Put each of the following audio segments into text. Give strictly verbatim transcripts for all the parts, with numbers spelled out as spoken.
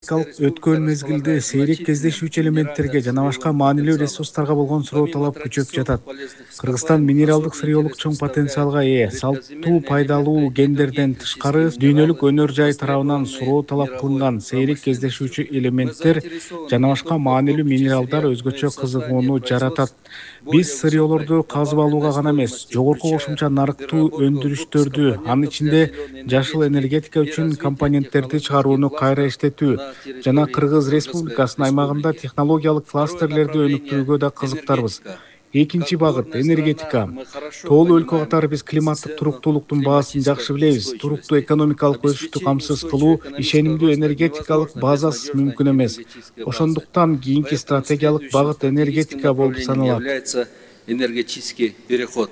Өткөн мезгилде сейрек кездешүүчү элементтерге жана башка маанилүү ресурстарга болгон суроо талап күчөп жатат. Кыргызстан минералдык сырьеолук чоң потенциалга ээ. Салттуу пайдалуу гендерден тышкары дүйнөлүк өнөр жай тарабынан суроо талап кылынган сейрек кездешүүчү элементтер жана башка маанилүү минералдар өзгөчө кызыгууну жаратат. Биз сырьеолорду казып алууга гана эмес, жогорку кошумча нарыктуу өндүрүштөрдү, анын ичинде жашыл энергетика үчүн компоненттерди чыгарууну кайра иштетүү жана Кыргыз Республикасынын аймагында технологиялык кластерлерди өнүктүрүүгө да кызыктарбыз. Экинчи багыт — энергетика. Тоолуу өлкө катары биз климаттык туруктуулуктун баасын жакшы билебиз. Туруктуу экономикалык өсүштү камсыз кылуу, ишенимдүү энергетикалык базасыз мүмкүн эмес. Ошондуктан кийинки стратегиялык багыт энергетика болуп саналат. Энергетический переход.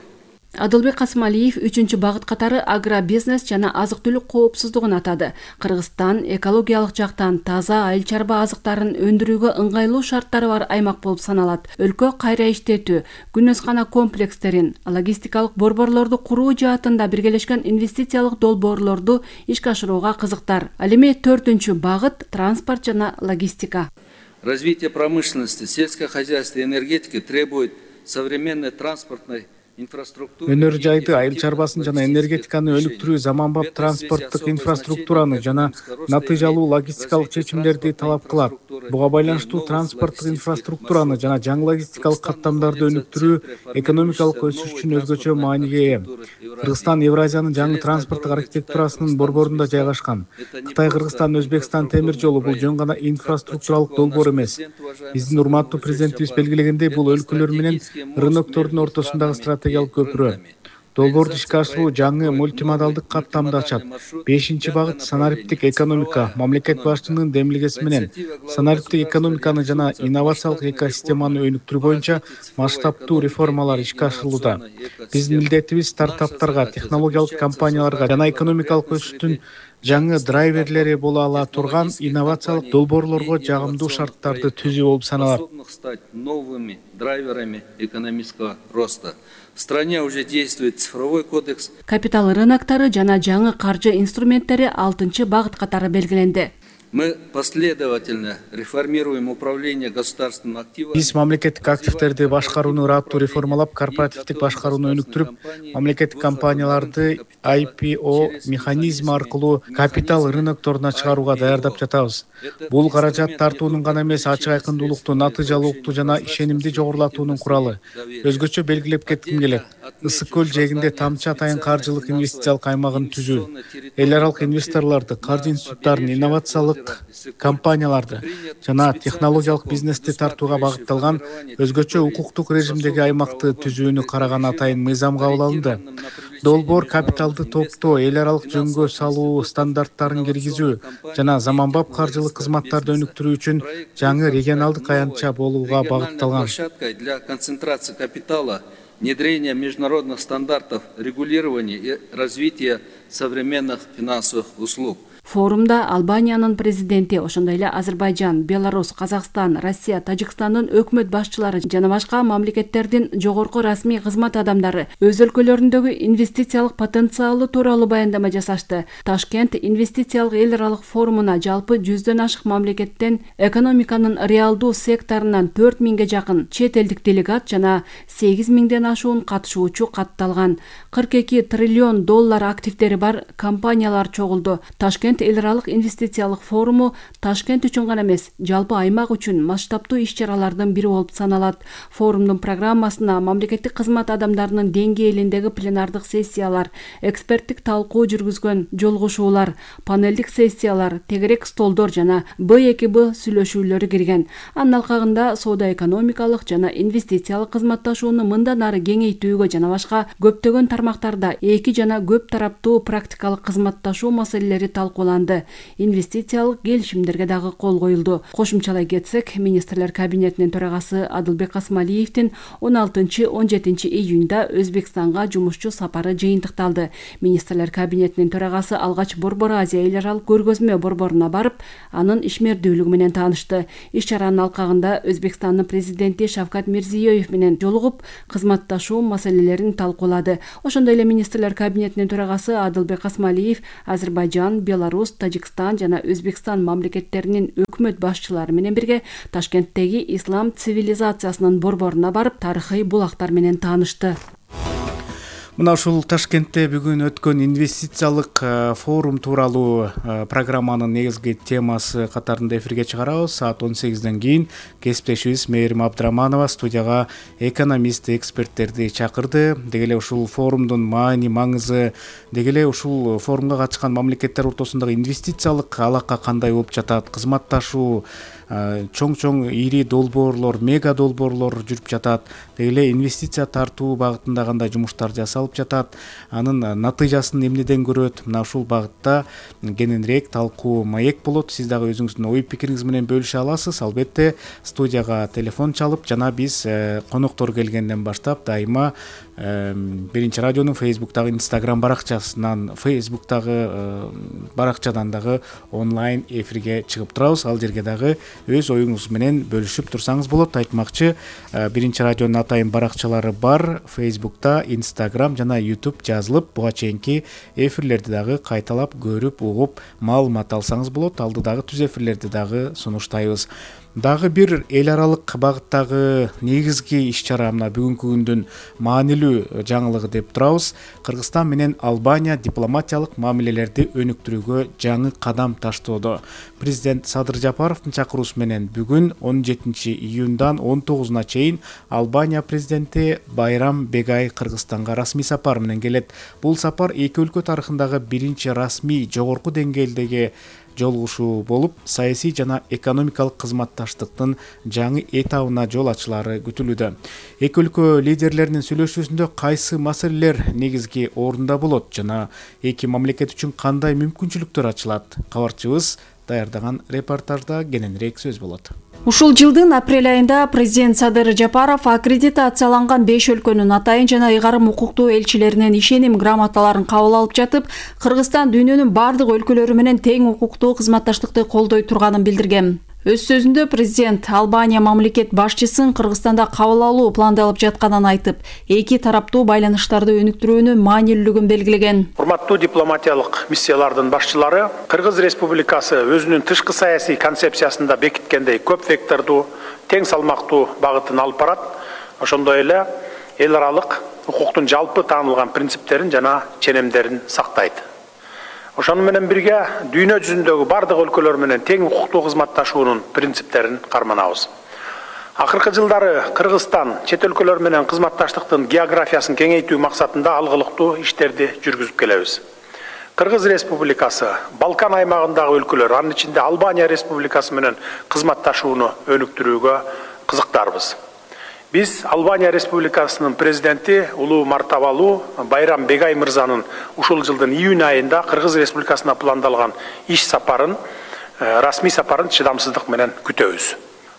Адылбек Касымалиев үчүнчү багыт катары агробизнес жана азык-түлүк коопсуздугун атады. Кыргызстан экологиялык жактан таза айыл чарба азыктарын өндүрүүгө ыңгайлуу шарттары бар аймак болуп саналат. Өлкө кайра иштетүү, күнөскана комплекстерин, логистикалык борборлорду куруу жаатында биргелешкен инвестициялык долбоорлорду ишке ашырууга кызыктар. Ал эми төртүнчү багыт транспорт жана логистика. Развитие промышленности, сельского хозяйства и энергетики требует современной транспортной өнөр жайды, айыл чарбасын жана энергетиканы өнүктүрүү заманбап транспорттук инфраструктураны жана натыйжалуу логистикалык чечимдерди талап кылат. Буга байланыштуу транспорттук инфраструктураны жана жаңы логистикалык каттамдарды өнүктүрүү экономикалык өсүш үчүн өзгөчө мааниге ээ. Кыргызстан Евразиянын жаңы транспорттук архитектурасынын борборунда жайгашкан. Кытай, Кыргызстан, Өзбекстан темир жолу бул жөн гана инфраструктуралык долбоор эмес. Биздин урматтуу президентибиз белгилегендей, бул өлкөлөр менен рыноктордун ортосундагы стратегия көпүрө. Долбоорду ишке ашыруу жаңы мультимодалдык каттамды ачат. Бешинчи багыт — санариптик экономика. Мамлекет башчынын демилгеси менен санариптик экономиканы жана инновациялык экосистеманы өнүктүрүү боюнча масштабтуу реформалар ишке ашырылууда. Биздин милдетибиз стартаптарга, технологиялык компанияларга жана экономикалык өсүштүн жаңы драйверлери боло ала турган инновациялык долбоорлорго жагымдуу шарттарды түзүү болуп саналат. Новыми драйверами экономического роста. В стране уже действует цифровой кодекс. Капитал рыноктары жана жаңы каржы инструменттери алтынчы багыт катары белгиленди. Мы последовательно реформируем управление государственным активом. Биз мамлекеттик активдерди башкарууну ыраттуу реформалап, корпоративдик башкарууну өнүктүрүп, мамлекеттик компанияларды ай пи о механизми аркылуу капитал рынокторуна чыгарууга даярдап жатабыз. Бул каражат тартуунун гана эмес, ачык айкындуулукту, натыйжалуулукту жана ишенимди жогорулатуунун куралы. Өзгөчө белгилеп кетким келет. Ысык көл жээгинде тамчы атайын каржылык инвестициялык аймагын түзүү, эл аралык инвесторлорду, каржы институттарын, инновациялык компанияларды жана технологиялык бизнести тартууга багытталган өзгөчө укуктук режимдеги аймакты түзүүнү караган атайын мыйзам кабыл алынды. Долбоор капиталды топтоо, эл аралык жөнгө салуу стандарттарын киргизүү жана заманбап каржылык кызматтарды өнүктүрүү үчүн жаңы регионалдык аянтча болууга багытталган. Для концентрации капитала, внедрения международных стандартов регулирования и развития современных финансовых услуг. Форумда Албаниянын президенти, ошондой эле Азербайжан, Беларусь, Казакстан, Россия, Тажикстандын өкмөт башчылары жана башка мамлекеттердин жогорку расмий кызмат адамдары өз өлкөлөрүндөгү инвестициялык потенциалы тууралуу баяндама жасашты. Ташкент инвестициялык эл аралык форумуна жалпы жүздөн ашык мамлекеттен экономиканын реалдуу секторунан төрт миңге жакын чет элдик делегат жана сегиз миңден ашуун катышуучу катталган. кырк эки триллион доллар активдери бар компаниялар чогулду. Ташкент эл аралык инвестициялык форуму Ташкент үчүн гана эмес, жалпы аймак үчүн масштабтуу иш-чаралардын бири болуп саналат. Форумдун программасына мамлекеттик кызмат адамдарынын деңгээлиндеги пленардык сессиялар, эксперттик талкуу жүргүзгөн жолугушуулар, панелдик сессиялар, тегерек столдор жана Б эки Б сүйлөшүүлөрү кирген. Анын алкагында соода-экономикалык жана инвестициялык кызматташууну мындан ары кеңейтүүгө жана башка көптөгөн тармактарда эки жана көп тараптуу практикалык кызматташуу маселелери талкууланды. Инвестициялык келишимдерге дагы кол коюлду. Кошумчалай кетсек, министрлер кабинетинин төрагасы Адылбек Касымалиевдин он алтынчы — он жетинчи июнда Өзбекстанга жумушчу сапары жыйынтыкталды. Министрлер кабинетинин төрагасы алгач Борбор Азия эл аралык көргөзмө борборуна барып, анын ишмердүүлүгү менен таанышты. Иш-чаранын алкагында Өзбекстандын президенти Шавкат Мирзиёев менен жолугуп, кызматташуу маселелерин талкуулады. Ошондой эле министрлер кабинетинин төрагасы Адылбек Касымалиев Азербайжан, Беларусь, Беларусь, Тажикстан жана Өзбекстан мамлекеттеринин өкмөт башчылары менен бирге Ташкенттеги ислам цивилизациясынын борборуна барып, тарыхый булактар менен таанышты. Мына ушул Ташкентте бүгүн өткөн инвестициялык форум тууралуу программанын негизги темасы катарында эфирге чыгарабыз. Саат он сегизден кийин кесиптешибиз Мээрим Абдыраманова студияга экономист, эксперттерди чакырды. Деги эле ушул форумдун маани, маңызы, деги эле ушул форумга катышкан мамлекеттер ортосундагы инвестициялык алака кандай болуп жатат, кызматташуу, чоң-чоң ири долбоорлор, мега долбоорлор жүрүп жатат. Деги эле инвестиция тартуу багытында кандай жумуштар жасалып жатат, анын натыйжасын эмнеден көрөт. Мына ушул багытта кененирээк талкуу маек болот. Сиз дагы өзүңүздүн ой пикириңиз менен бөлүшө аласыз. Албетте студияга телефон чалып жана биз коноктор келгенден баштап дайыма Биринчи радионун Фейсбуктагы, Инстаграм баракчасынан, Фейсбуктагы баракчадан дагы онлайн эфирге чыгып турабыз. Ал жерге дагы өз оюңуз менен бөлүшүп турсаңыз болот. Айтмакчы, Биринчи радионун атайын баракчалары бар. Фейсбукта, Инстаграм жана Ютуб жазылып, буга чейинки эфирлерди дагы кайталап көрүп, угуп, маалымат алсаңыз болот. Алдыдагы түз эфирлерди дагы сунуштайбыз. Дагы бир эл аралык багыттагы негизги иш-чара мына бүгүнкү күндүн маанилүү жаңылыгы деп турабыз. Кыргызстан менен Албания дипломатиялык мамилелерди өнүктүрүүгө жаңы кадам таштоодо. Президент Садыр Жапаровдун чакыруусу менен бүгүн он жетинчи июндан он тогузуна чейин Албания президенти Байрам Бегай Кыргызстанга расмий сапар менен келет. Бул сапар эки өлкө тарыхындагы биринчи расмий жогорку деңгээлдеги жолугушуу болуп, саясий жана экономикалык кызматташтыктын жаңы этабына жол ачылары күтүлүүдө. Эки өлкө лидерлеринин сүйлөшүүсүндө кайсы маселелер негизги орунда болот жана эки мамлекет үчүн кандай мүмкүнчүлүктөр ачылат? Кабарчыбыз даярдаган репортажда кененирээк сөз болот. Ушул жылдын апрель айында президент Садыр Жапаров аккредитацияланган беш өлкөнүн атайын жана ыйгарым укуктуу элчилеринен ишеним грамоталарын кабыл алып жатып, Кыргызстан дүйнөнүн бардык өлкөлөрү менен тең укуктуу кызматташтыкты колдой турганын билдирген. Өз сөзүндө президент Албания мамлекет башчысын Кыргызстанда кабыл алуу пландалып жатканын айтып, эки тараптуу байланыштарды өнүктүрүүнүн маанилүүлүгүн белгилеген. Урматтуу дипломатиялык миссиялардын башчылары, Кыргыз Республикасы өзүнүн тышкы саясий концепциясында бекиткендей көп вектордуу, тең салмактуу багытын алып барат. Ошондой эле эл аралык укуктун жалпы таанылган принциптерин жана ченемдерин сактайт. Ошону менен бирге дүйнө жүзүндөгү бардык өлкөлөр менен тең укуктуу кызматташуунун принциптерин карманабыз. Акыркы жылдары Кыргызстан чет өлкөлөр менен кызматташтыктын географиясын кеңейтүү максатында алгылыктуу иштерди жүргүзүп келебиз. Кыргыз Республикасы, Балкан аймагындагы өлкөлөр, анын ичинде Албания Республикасы менен кызматташууну өнүктүрүүгө кызыктарбыз. Биз Албания Республикасынын президенти улуу мартабалуу Байрам Бегай мырзанын ушул жылдын июнь айында Кыргыз Республикасына пландалган иш сапарын, расмий сапарын чыдамсыздык менен күтөбүз.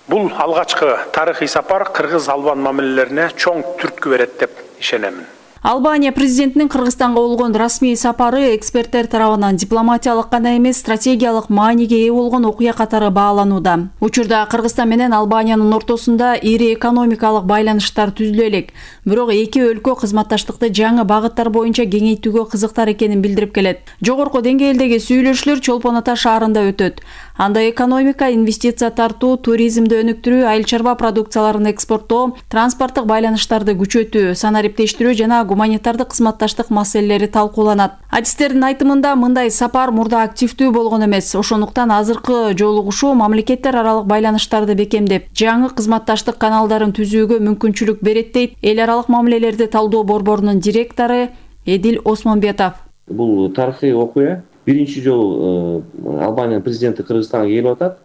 Бул алгачкы тарыхый сапар Кыргыз-Албан мамилелерине чоң түрткү берет деп ишенемин. Албания президентинин Кыргызстанга болгон расмий сапары эксперттер тарабынан дипломатиялык гана эмес, стратегиялык мааниге ээ болгон окуя катары бааланууда. Учурда Кыргызстан менен Албаниянын ортосунда ири экономикалык байланыштар түзүлө элек. Бирок эки өлкө кызматташтыкты жаңы багыттар боюнча кеңейтүүгө кызыктар экенин билдирип келет. Жогорку деңгээлдеги сүйлөшүүлөр Чолпон Ата шаарында өтөт. Анда экономика, инвестиция тартуу, туризмди өнүктүрүү, айыл чарба продукцияларын экспорттоо, транспорттук байланыштарды күчөтүү, санариптештирүү жана гуманитардык кызматташтык маселелери талкууланат. Адистердин айтымында мындай сапар мурда активдүү болгон эмес. Ошондуктан азыркы жолугушуу мамлекеттер аралык байланыштарды бекемдеп, жаңы кызматташтык каналдарын түзүүгө мүмкүнчүлүк берет дейт эл аралык мамилелерди талдоо борборунун директору Эдил Осмонбетов. Бул тарыхый окуя. Биринчи жолу Албания президенти Кыргызстанга келип атат.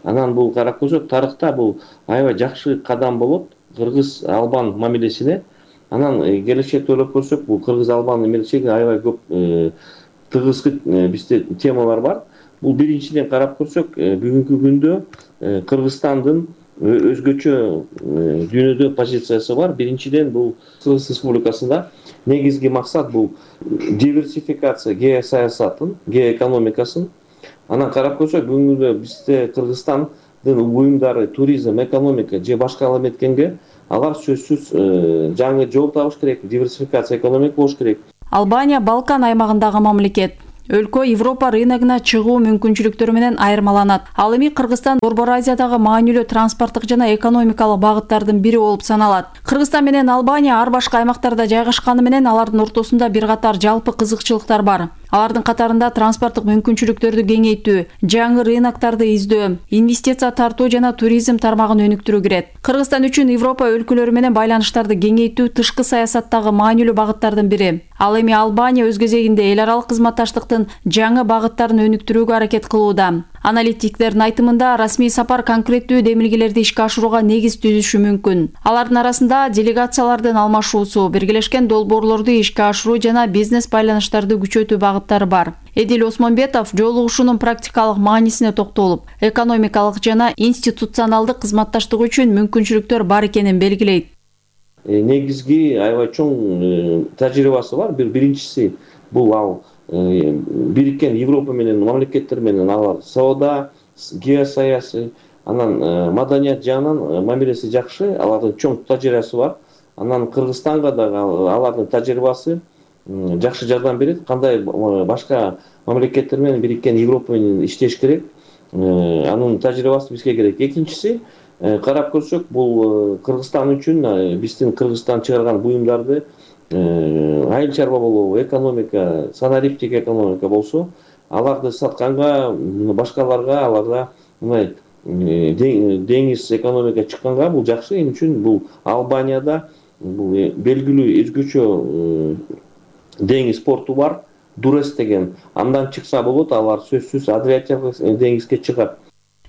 Анан бул карап көрсөк, тарыхта бул аябай жакшы кадам болот Кыргыз-Албан мамилесине. Анан келечекте ойлоп көрсөк, бул Кыргыз-Албан мамилесине аябай көп тыгыз бизде темалар бар. Бул биринчиден карап көрсөк, бүгүнкү күндө Кыргызстандын өзгөчө дүйнөдө позициясы бар. Биринчиден бул Кыргыз Республикасында негизги максат бул диверсификация геосаясатын, геоэкономикасын. Анан карап көрсөк, бүгүнкү бизде Кыргызстандын уюмдары туризм, экономика же башка эметкенге алар сөзсүз жаңы жол табыш керек, диверсификация экономика болуш керек. Албания Балкан аймагындагы мамлекет. өлкө Европа рыногуна чыгуу мүмкүнчүлүктөрү менен айырмаланат. Ал эми Кыргызстан Борбор Азиядагы маанилүү транспорттук жана экономикалык багыттардын бири болуп саналат. Кыргызстан менен Албания ар башка аймактарда жайгашканы менен алардын ортосунда бир катар жалпы кызыкчылыктар бар. Алардын катарында транспорттук мүмкүнчүлүктөрдү кеңейтүү, жаңы рыноктарды издөө, инвестиция тартуу жана туризм тармагын өнүктүрүү кирет. Кыргызстан үчүн Европа өлкөлөрү менен байланыштарды кеңейтүү тышкы саясаттагы маанилүү багыттардын бири. Ал эми Албания өз кезегинде эл аралык кызматташтыктын жаңы багыттарын өнүктүрүүгө аракет кылууда. Аналитиктердин айтымында расмий сапар конкреттүү демилгелерди ишке ашырууга негиз түзүшү мүмкүн. Алардын арасында делегациялардын алмашуусу, биргелешкен долбоорлорду ишке ашыруу жана бизнес байланыштарды күчөтүү багыттары бар. Эдил Осмонбетов жолугушуунун практикалык маанисине токтолуп, экономикалык жана институционалдык кызматташтык үчүн мүмкүнчүлүктөр бар экенин белгилейт. Негизги аябай чоң тажрыйбасы бар. Бир биринчиси бул ал бириккен Европа менен мамлекеттер менен алар соода, геосаясий, анан маданият жагынан мамилеси жакшы, алардын чоң тажрыйбасы бар. Анан Кыргызстанга дагы алардын тажрыйбасы жакшы жардам берет. Кандай башка мамлекеттер менен бириккен Европа менен иштеш керек, анын тажрыйбасы бизге керек. Экинчиси, карап көрсөк, бул Кыргызстан үчүн биздин Кыргызстан чыгарган буюмдарды айыл чарба болобу, экономика, санариптик экономика болсо, аларды сатканга, башкаларга, аларда мындай деңиз экономика чыкканга бул жакшы. Эми үчүн бул Албанияда бул белгилүү өзгөчө деңиз порту бар, Дурес деген. Андан чыкса болот, алар сөзсүз Адриатик деңизге чыгат.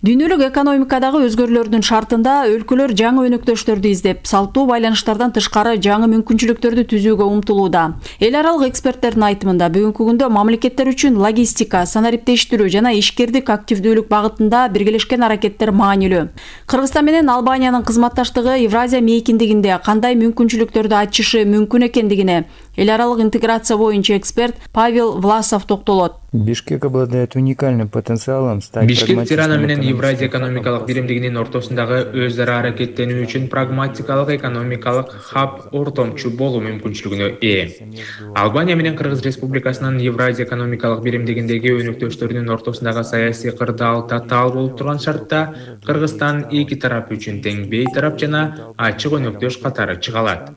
Дүйнөлүк экономикадагы өзгөрүүлөрдүн шартында өлкөлөр жаңы өнөктөштөрдү издеп, салттуу байланыштардан тышкары жаңы мүмкүнчүлүктөрдү түзүүгө умтулууда. Эл аралык эксперттердин айтымында бүгүнкү күндө мамлекеттер үчүн логистика, санариптештирүү жана ишкердик активдүүлүк багытында биргелешкен аракеттер маанилүү. Кыргызстан менен Албаниянын кызматташтыгы Евразия мейкиндигинде кандай мүмкүнчүлүктөрдү ачышы мүмкүн экендигине эл аралык интеграция боюнча эксперт Павел Власов токтолот. Бишкек обладает уникальным потенциалом стать Бишкек Тирана менен Евразия экономикалык биримдигинин ортосундагы өз ара аракеттенүү үчүн прагматикалык экономикалык хаб ортомчу болуу мүмкүнчүлүгүнө ээ. Албания менен Кыргыз Республикасынын Евразия экономикалык биримдигиндеги өнөктөштөрүнүн ортосундагы саясий кырдаал татаал болуп турган шартта Кыргызстан эки тарап үчүн тең бейтарап жана ачык өнөктөш катары чыга алат.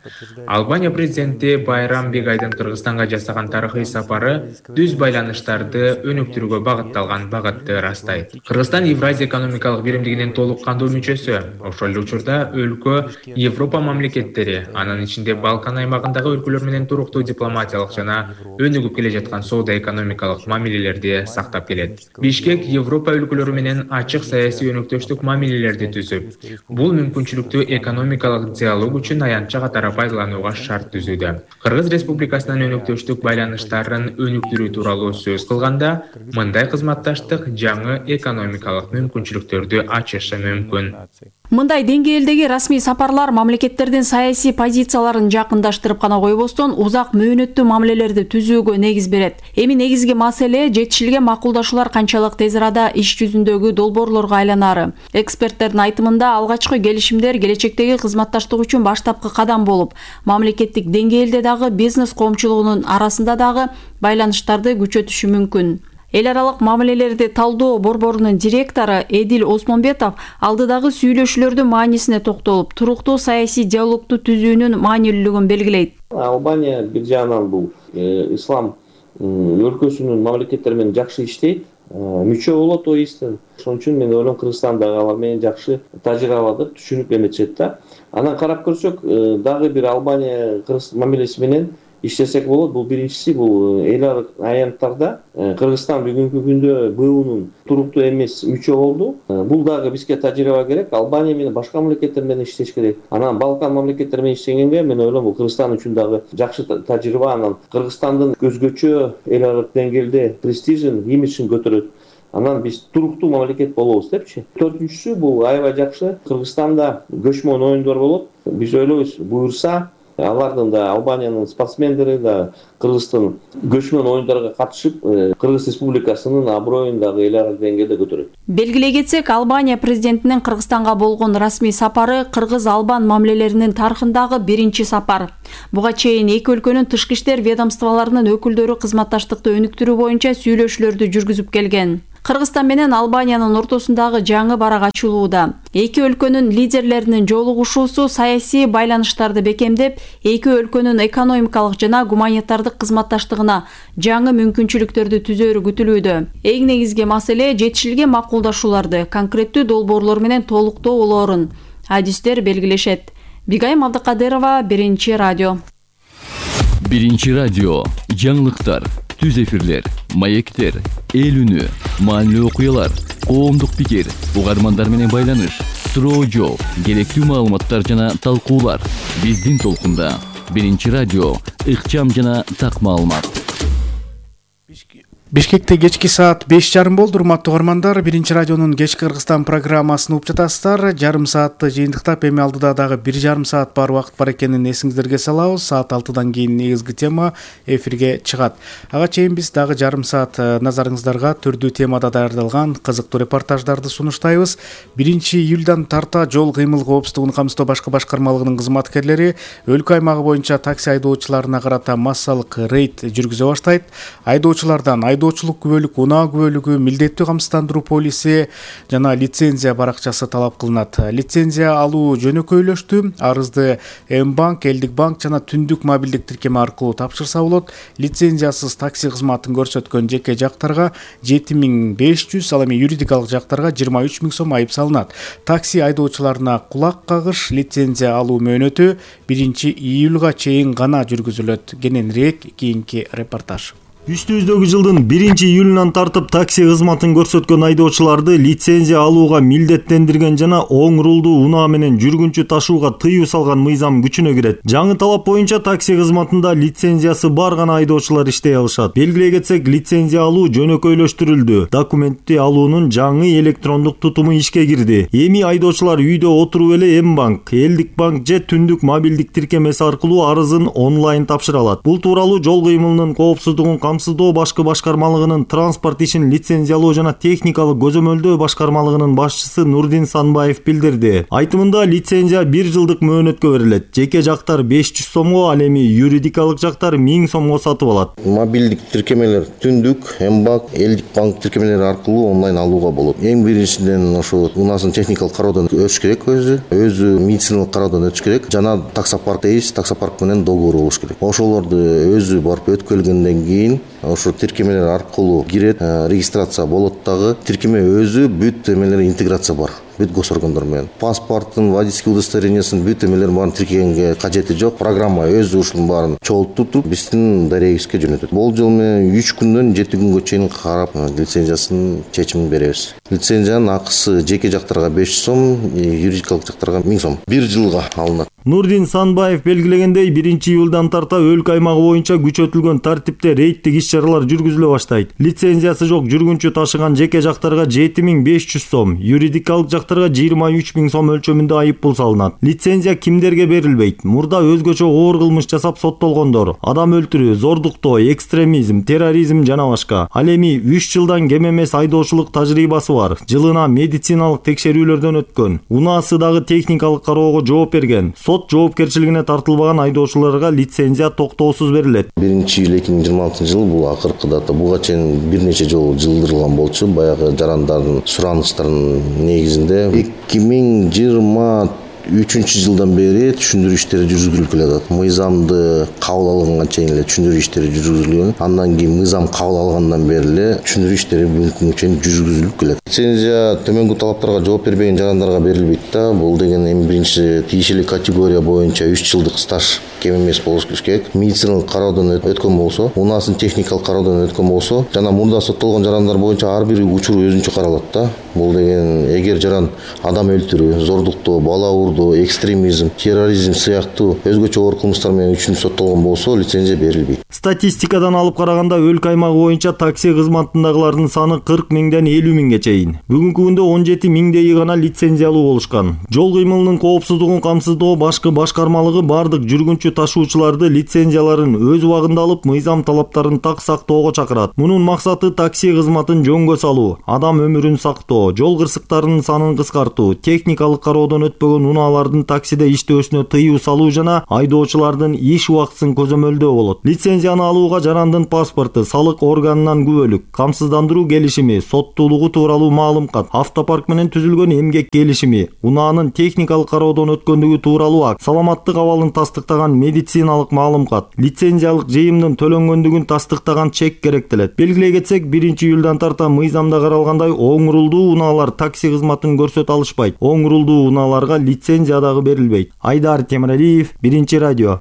Албания президенти Байрам Бегайдын Кыргызстанга жасаган тарыхый сапары түз байланыштарды өнүктүрүүгө багытталган багытты ырастайт. Кыргызстан Евразия экономикалык биримдигинин толук кандуу мүчөсү. Ошол эле учурда өлкө Европа мамлекеттери, анын ичинде Балкан аймагындагы өлкөлөр менен туруктуу дипломатиялык жана өнүгүп келе жаткан соода экономикалык мамилелерди сактап келет. Бишкек Европа өлкөлөрү менен ачык саясий өнөктөштүк мамилелерди түзүп, бул мүмкүнчүлүктү экономикалык диалог үчүн аянтча катары пайдаланууга шарт түзүүдө. Кыргыз Республикасынын өнөктөштүк байланыштарын өнүктүрүү тууралуу сөз кылганда, мындай кызматташтык жаңы экономикалык мүмкүнчүлүктөрдү ачышы мүмкүн. Мындай деңгээлдеги расмий сапарлар мамлекеттердин саясий позицияларын жакындаштырып гана койбостон, узак мөөнөттүү мамилелерди түзүүгө негиз берет. Эми негизги маселе жетишилген макулдашуулар канчалык тез арада иш жүзүндөгү долбоорлорго айланары. Эксперттердин айтымында алгачкы келишимдер келечектеги кызматташтык үчүн баштапкы кадам болуп, мамлекеттик деңгээлде дагы бизнес коомчулугунун арасында дагы байланыштарды күчөтүшү мүмкүн. Эл аралык мамилелерди талдоо борборунун директору Эдил Осмонбетов алдыдагы сүйлөшүүлөрдүн маанисине токтолуп, туруктуу саясий диалогду түзүүнүн маанилүүлүгүн белгилейт. Албания бир жагынан бул ислам өлкөсүнүн мамлекеттери менен жакшы иштейт, мүчө болот ОИСтен. Ошон үчүн мен ойлойм Кыргызстан дагы алар менен жакшы тажрыйбаларды түшүнүп эметет да. Анан карап көрсөк, дагы бир Албания Кыргыз мамилеси менен иштесек болот. Бул биринчиси, бул эл аралык аянттарда Кыргызстан бүгүнкү күндө Б У'нун туруктуу эмес мүчө болду. Бул дагы бизге тажрыйба керек. Албания менен башка мамлекеттер менен иштеш керек. Анан Балкан мамлекеттери менен иштегенге мен ойлойм бул Кыргызстан үчүн дагы жакшы тажрыйба. Анан Кыргызстандын өзгөчө эл аралык деңгээлде престижин, имиджин көтөрөт. Анан биз туруктуу мамлекет болобуз депчи. Төртүнчүсү, бул аябай жакшы. Кыргызстанда көчмөн оюндар болот. Биз ойлойбуз, буюрса Алардын да Албаниянын спортсмендери да Кыргызстан көчмөн оюндарга катышып, Кыргыз Республикасынын аброюн дагы эл аралык деңгээлде көтөрөт. Белгилей кетсек, Албания президентинин Кыргызстанга болгон расмий сапары кыргыз-албан мамилелеринин тарыхындагы биринчи сапар. Буга чейин эки өлкөнүн тышкы иштер ведомстволорунун өкүлдөрү кызматташтыкты өнүктүрүү боюнча сүйлөшүүлөрдү жүргүзүп келген. Кыргызстан менен Албаниянын ортосундагы жаңы барак ачылууда. Эки өлкөнүн лидерлеринин жолугушуусу саясий байланыштарды бекемдеп, эки өлкөнүн экономикалык жана гуманитардык кызматташтыгына жаңы мүмкүнчүлүктөрдү түзөөрү күтүлүүдө. Эң негизги маселе жетишилген макулдашууларды конкреттүү долбоорлор менен толуктоо болоорун адистер белгилешет. Бигайым Абдыкадырова, Биринчи радио. Биринчи радио. Жаңылыктар, түз эфирлер, маектер, эл үнү, маанилүү окуялар, коомдук пикир, угармандар менен байланыш, суроо жооп, керектүү маалыматтар жана талкуулар. Биздин толкунда Биринчи радио, ыкчам жана так маалымат. Бишкекте кечки саат беш жарым болду. Урматтуу угармандар, Биринчи радионун кечки Кыргызстан программасын угуп жатасыздар. Жарым саатты жыйынтыктап, эми алдыда дагы бир жарым саат бар убакыт бар экенин эсиңиздерге салабыз. Саат алтыдан кийин негизги тема эфирге чыгат. Ага чейин биз дагы жарым саат назарыңыздарга түрдүү темада даярдалган кызыктуу репортаждарды сунуштайбыз. биринчи июлдан тарта жол кыймыл коопсуздугун камсыздоо башкы башкармалыгынын кызматкерлери өлкө аймагы боюнча такси айдоочуларына карата массалык рейд жүргүзө баштайт. Айдоочулардан айдоочулук күбөлүк, унаа күбөлүгү, милдеттүү камсыздандыруу полиси жана лицензия баракчасы талап кылынат. Лицензия алуу жөнөкөйлөштү. Арызды М-банк, Элдик банк жана Түндүк мобилдик тиркеме аркылуу тапшырса болот. Лицензиясыз такси кызматын көрсөткөн жеке жактарга жети миң беш жүз, ал эми юридикалык жактарга жыйырма үч миң сом айып салынат. Такси айдоочуларына кулак кагыш лицензия алуу мөөнөтү биринчи июлга чейин гана жүргүзүлөт. Кененирээк кийинки репортаж. Үстүбүздөгү жылдын биринчи июлунан тартып такси кызматын көрсөткөн айдоочуларды лицензия алууга милдеттендирген жана оң рулдуу унаа менен жүргүнчү ташууга тыюу салган мыйзам күчүнө кирет. Жаңы талап боюнча такси кызматында лицензиясы бар гана айдоочулар иштей алышат. Белгилей кетсек, лицензия алуу жөнөкөйлөштүрүлдү. Документти алуунун жаңы электрондук тутуму ишке кирди. Эми айдоочулар үйдө отуруп эле М-банк, Элдик банк же Түндүк мобилдик тиркемеси аркылуу арызын онлайн тапшыра алат. Бул тууралуу жол кыймылынын коопсуздугун камсыздоо башкы башкармалыгынын транспорт ишин лицензиялоо жана техникалык көзөмөлдөө башкармалыгынын башчысы Нурдин Санбаев билдирди. Айтымында лицензия бир жылдык мөөнөткө берилет. Жеке жактар беш жүз сомго, ал эми юридикалык жактар миң сомго сатып алат. Мобилдик тиркемелер Түндүк, М-банк, Элдик банк тиркемелери аркылуу онлайн алууга болот. Эң биринчиден ошо унаасын техникалык кароодон өтүш керек, өзү, өзү медициналык кароодон өтүш керек. Жана таксопарк дейбиз, таксопарк менен договор болуш керек. Ошолорду өзү барып өткөргөндөн кийин ошо тиркемелер аркылуу кирет, регистрация болот дагы. Тиркеме өзү бүт эмелери интеграция бар. Бүт госоргондор менен. Паспорттун, водительский удостоверениясын бүт эмелерин баарын тиркегенге кажети жок. Программа өзү ушунун баарын чогултуп, биздин дарегибизге жөнөтөт. Болжол менен үч күндөн жети күнгө чейин карап, лицензиясынын чечимин беребиз. Лицензиянын акысы жеке жактарга беш жүз сом, юридикалык жактарга миң сом. Бир жылга алынат. Нурдин Санбаев белгилегендей, биринчи июлдан тарта өлкө аймагы боюнча күчөтүлгөн тартипте рейдтик иш-чаралар жүргүзүлө баштайт. Лицензиясы жок жүргүнчү ташыган жеке жактарга жети миң беш жүз сом, юридикалык жактарга жыйырма үч миң сом өлчөмүндө айып пул салынат. Лицензия кимдерге берилбейт? Мурда өзгөчө оор кылмыш жасап соттолгондор, адам өлтүрүү, зордуктоо, экстремизм, терроризм жана башка. Ал эми үч жылдан кем эмес айдоочулук тажрыйбасы бар. Жылына медициналык текшерүүлөрдөн өткөн. Унаасы дагы техникалык кароого жооп берген. Сот жоопкерчилигине тартылбаган айдоочуларга лицензия токтоосуз берилет. биринчи июль эки миң жыйырма алтынчы жыл бул акыркы дата. Буга чейин бир нече жолу жылдырылган болчу. Баягы жарандардын суранычтарынын негизинде эки миң жыйырма үчүнчү жылдан бери түшүндүрүү иштери жүргүзүлүп келатат. Мыйзамды кабыл алганга чейин эле түшүндүрүү иштери жүргүзүлгөн. Андан кийин мыйзам кабыл алгандан бери эле түшүндүрүү иштери бүгүнкү күнгө чейин жүргүзүлүп келет. Лицензия төмөнгү талаптарга жооп бербеген жарандарга берилбейт да. Бул деген эми биринчи тиешелүү категория боюнча үч жылдык стаж кем эмес болуш керек. Медициналык кароодон өткөн болсо, унаасын техникалык кароодон өткөн болсо, жана мурда соттолгон жарандар боюнча ар бир учур өзүнчө каралат да. бул деген эгер жаран адам өлтүрүү, зордуктоо, бала урдоо, экстремизм, терроризм сыяктуу өзгөчө оор кылмыштар менен үчүн соттолгон болсо лицензия берилбейт. Статистикадан алып караганда өлкө аймагы боюнча такси кызматындагылардын саны кырк миңден элүү миңге чейин. Бүгүнкү күндө он жети миңдейи гана лицензиялуу болушкан. Жол кыймылынын коопсуздугун камсыздоо башкы башкармалыгы бардык жүргүнчү ташуучуларды лицензияларын өз убагында алып, мыйзам талаптарын так сактоого чакырат. Мунун максаты такси кызматын жөнгө салуу, адам өмүрүн сактоо, жол кырсыктарынын санын кыскартуу, техникалык кароодон өтпөгөн унаалардын таксиде иштөөсүнө тыюу салуу жана айдоочулардын иш убактысын көзөмөлдөө болот. Лицензияны алууга жарандын паспорту, салык органынан күбөлүк, камсыздандыруу келишими, соттуулугу тууралуу маалымат, автопарк менен түзүлгөн эмгек келишими, унаанын техникалык кароодон өткөндүгү тууралуу акт, саламаттык абалын тастыктаган медициналык маалымат, лицензиялык жыйымдын төлөнгөндүгүн тастыктаган чек керектелет. Белгилей кетсек, биринчи июлдан тарта мыйзамда каралгандай оң рулдуу унаалар такси кызматын көрсөтө алышпайт. Оң рулдуу унааларга лицензия дагы берилбейт. Айдар Темиралиев, Биринчи радио.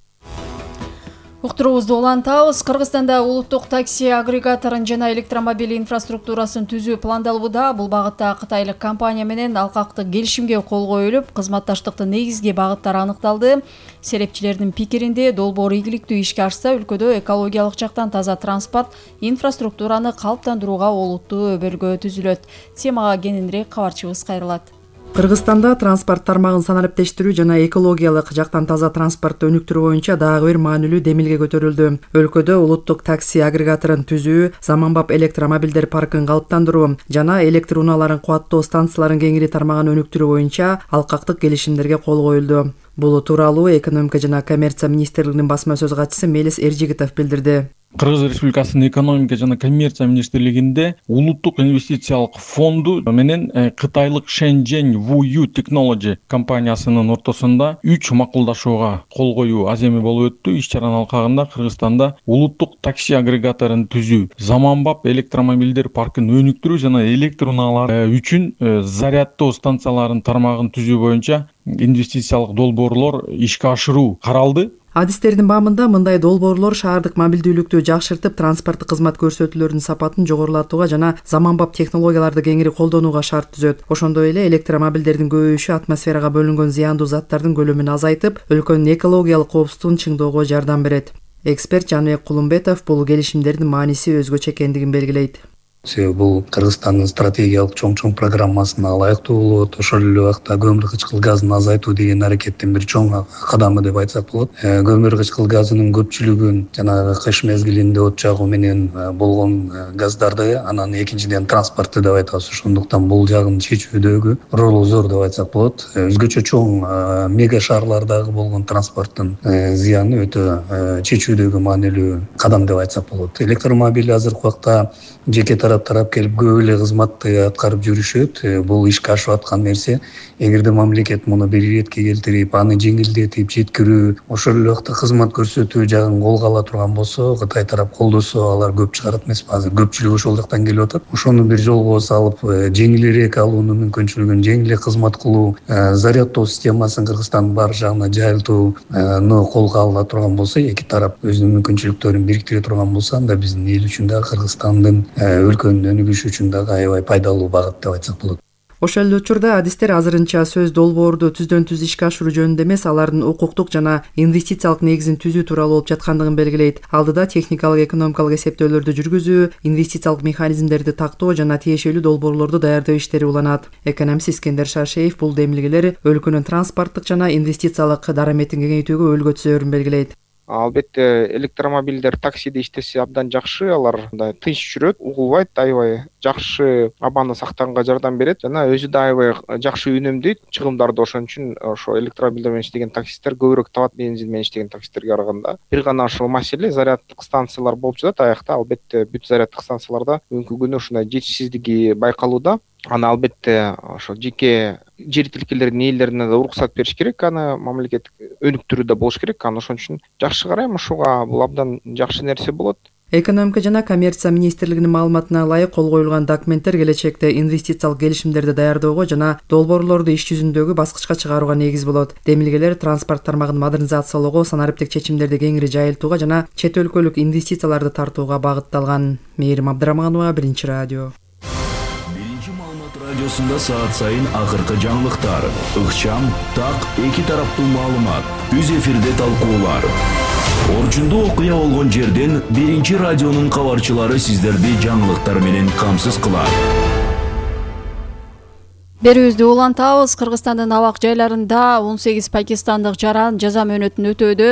Уктуруубузду улантабыз. Кыргызстанда улуттук такси агрегаторун жана электромобиль инфраструктурасын түзүү пландалууда. Бул багытта кытайлык компания менен алкактык келишимге кол коюлуп, кызматташтыктын негизги багыттары аныкталды. Серепчилердин пикиринде, долбоор ийгиликтүү ишке ашса, өлкөдө экологиялык жактан таза транспорт инфраструктураны калыптандырууга олуттуу өбөлгө түзүлөт. Темага кененирээк кабарчыбыз кайрылат. Кыргызстанда транспорт тармагын санариптештирүү жана экологиялык жактан таза транспортты өнүктүрүү боюнча дагы бир маанилүү демилге көтөрүлдү. Өлкөдө улуттук такси агрегаторун түзүү, заманбап электромобилдер паркын калыптандыруу жана электр унааларын кубаттоо станцияларын кеңири тармагын өнүктүрүү боюнча алкактык келишимдерге кол коюлду. Бул тууралуу экономика жана коммерция министрлигинин басма сөз катчысы Мелис Эржигитов билдирди. Кыргыз Республикасынын экономика жана коммерция министрлигинде улуттук инвестициялык фонду менен кытайлык Shenzhen Wuyu Technology компаниясынын ортосунда үч макулдашууга кол коюу аземи болуп өттү. Иш чаранын алкагында Кыргызстанда улуттук такси агрегаторун түзүү, заманбап электромобилдер паркын өнүктүрүү жана электр унаалар үчүн зарядтоо станцияларынын тармагын түзүү боюнча инвестициялык долбоорлор ишке ашыруу каралды. Адистердин баамында мындай долбоорлор шаардык мобилдүүлүктү жакшыртып, транспорттук кызмат көрсөтүүлөрүнүн сапатын жогорулатууга жана заманбап технологияларды кеңири колдонууга шарт түзөт. Ошондой эле электромобилдердин көбөйүшү атмосферага бөлүнгөн зыяндуу заттардын көлөмүн азайтып, өлкөнүн экологиялык коопсуздугун чыңдоого жардам берет. Эксперт Жаныбек Кулумбетов бул келишимдердин мааниси өзгөчө экендигин белгилейт. Себеби бул Кыргызстандын стратегиялык чоң-чоң программасына ылайыктуу болот. Ошол эле убакта көмүр кычкыл газын азайтуу деген аракеттин бир чоң кадамы деп айтсак болот. Көмүр кычкыл газынын көпчүлүгүн жанагы кыш мезгилинде от жагуу менен болгон газдарды, анан экинчиден транспортты деп айтабыз. Ошондуктан бул жагын чечүүдөгү ролу зор деп айтсак болот. Өзгөчө чоң мега шаарлардагы болгон транспорттун зыяны өтө чечүүдөгү маанилүү кадам деп айтсак болот. Электромобиль азыркы убакта жеке тарап келип көп эле кызматты аткарып жүрүшөт. Бул ишке ашып аткан нерсе. Эгерде мамлекет муну бир иретке келтирип, аны жеңилдетип жеткирүү, ошол эле убакта кызмат көрсөтүү жагын колго ала турган болсо, Кытай тарап колдосо, алар көп чыгарат эмеспи. Азыр көпчүлүк ошол жактан келип атат. Ошону бир жолго салып, жеңилирээк алуунун мүмкүнчүлүгүн, жеңилирээк кызмат кылуу, зарядтоо системасын Кыргызстандын бар жагына жайылтууну колго ала турган болсо, эки тарап өзүнүн мүмкүнчүлүктөрүн бириктире турган болсо, анда биздин эл үчүн да, Кыргызстандын өлкөнүн өнүгүшү үчүн дагы аябай пайдалуу багыт деп айтсак болот. Ошол эле учурда адистер азырынча сөз долбоорду түздөн түз ишке ашыруу жөнүндө эмес, алардын укуктук жана инвестициялык негизин түзүү тууралуу болуп жаткандыгын белгилейт. Алдыда техникалык экономикалык эсептөөлөрдү жүргүзүү, инвестициялык механизмдерди тактоо жана тиешелүү долбоорлорду даярдоо иштери уланат. Экономист Искендер Шаршеев бул демилгелер өлкөнүн транспорттук жана инвестициялык дараметин кеңейтүүгө өөлгө түзөөрүн белгилейт. Албетте электромобилдер таксиде иштесе абдан жакшы, алар мындай тынч жүрөт, угулбайт, аябай жакшы абаны сактаганга жардам берет жана өзү да аябай жакшы үнөмдөйт чыгымдарды. Ошон үчүн ошо электромобилдер менен иштеген таксисттер көбүрөөк табат бензин менен иштеген таксисттерге караганда. Бир гана ошол маселе заряддык станциялар болуп жатат аякта. Албетте бүт заряддык станцияларда бүгүнкү күнү ушундай жетишсиздиги байкалууда. Аны албетте ошо жеке жер тилкелердин ээлерине да уруксат бериш керек, аны мамлекет өнүктүрүүдө болуш керек. Аны ошон үчүн жакшы карайм ушуга, бул абдан жакшы нерсе болот. Экономика жана коммерция министрлигинин маалыматына ылайык кол коюлган документтер келечекте инвестициялык келишимдерди даярдоого жана долбоорлорду иш жүзүндөгү баскычка чыгарууга негиз болот. Демилгелер транспорт тармагын модернизациялоого, санариптик чечимдерди кеңири жайылтууга жана чет өлкөлүк инвестицияларды тартууга багытталган. Мээрим Абдыраманова, Биринчи радио. радиосунда саат сайын акыркы жаңылыктар, ыкчам, так, эки тараптуу маалымат, түз эфирде талкуулар. Орчундуу окуя болгон жерден биринчи радионун кабарчылары сиздерди жаңылыктар менен камсыз кылат. Берүүбүздү улантабыз. Кыргызстандын абак жайларында он сегиз пакистандык жаран жаза мөөнөтүн өтөөдө.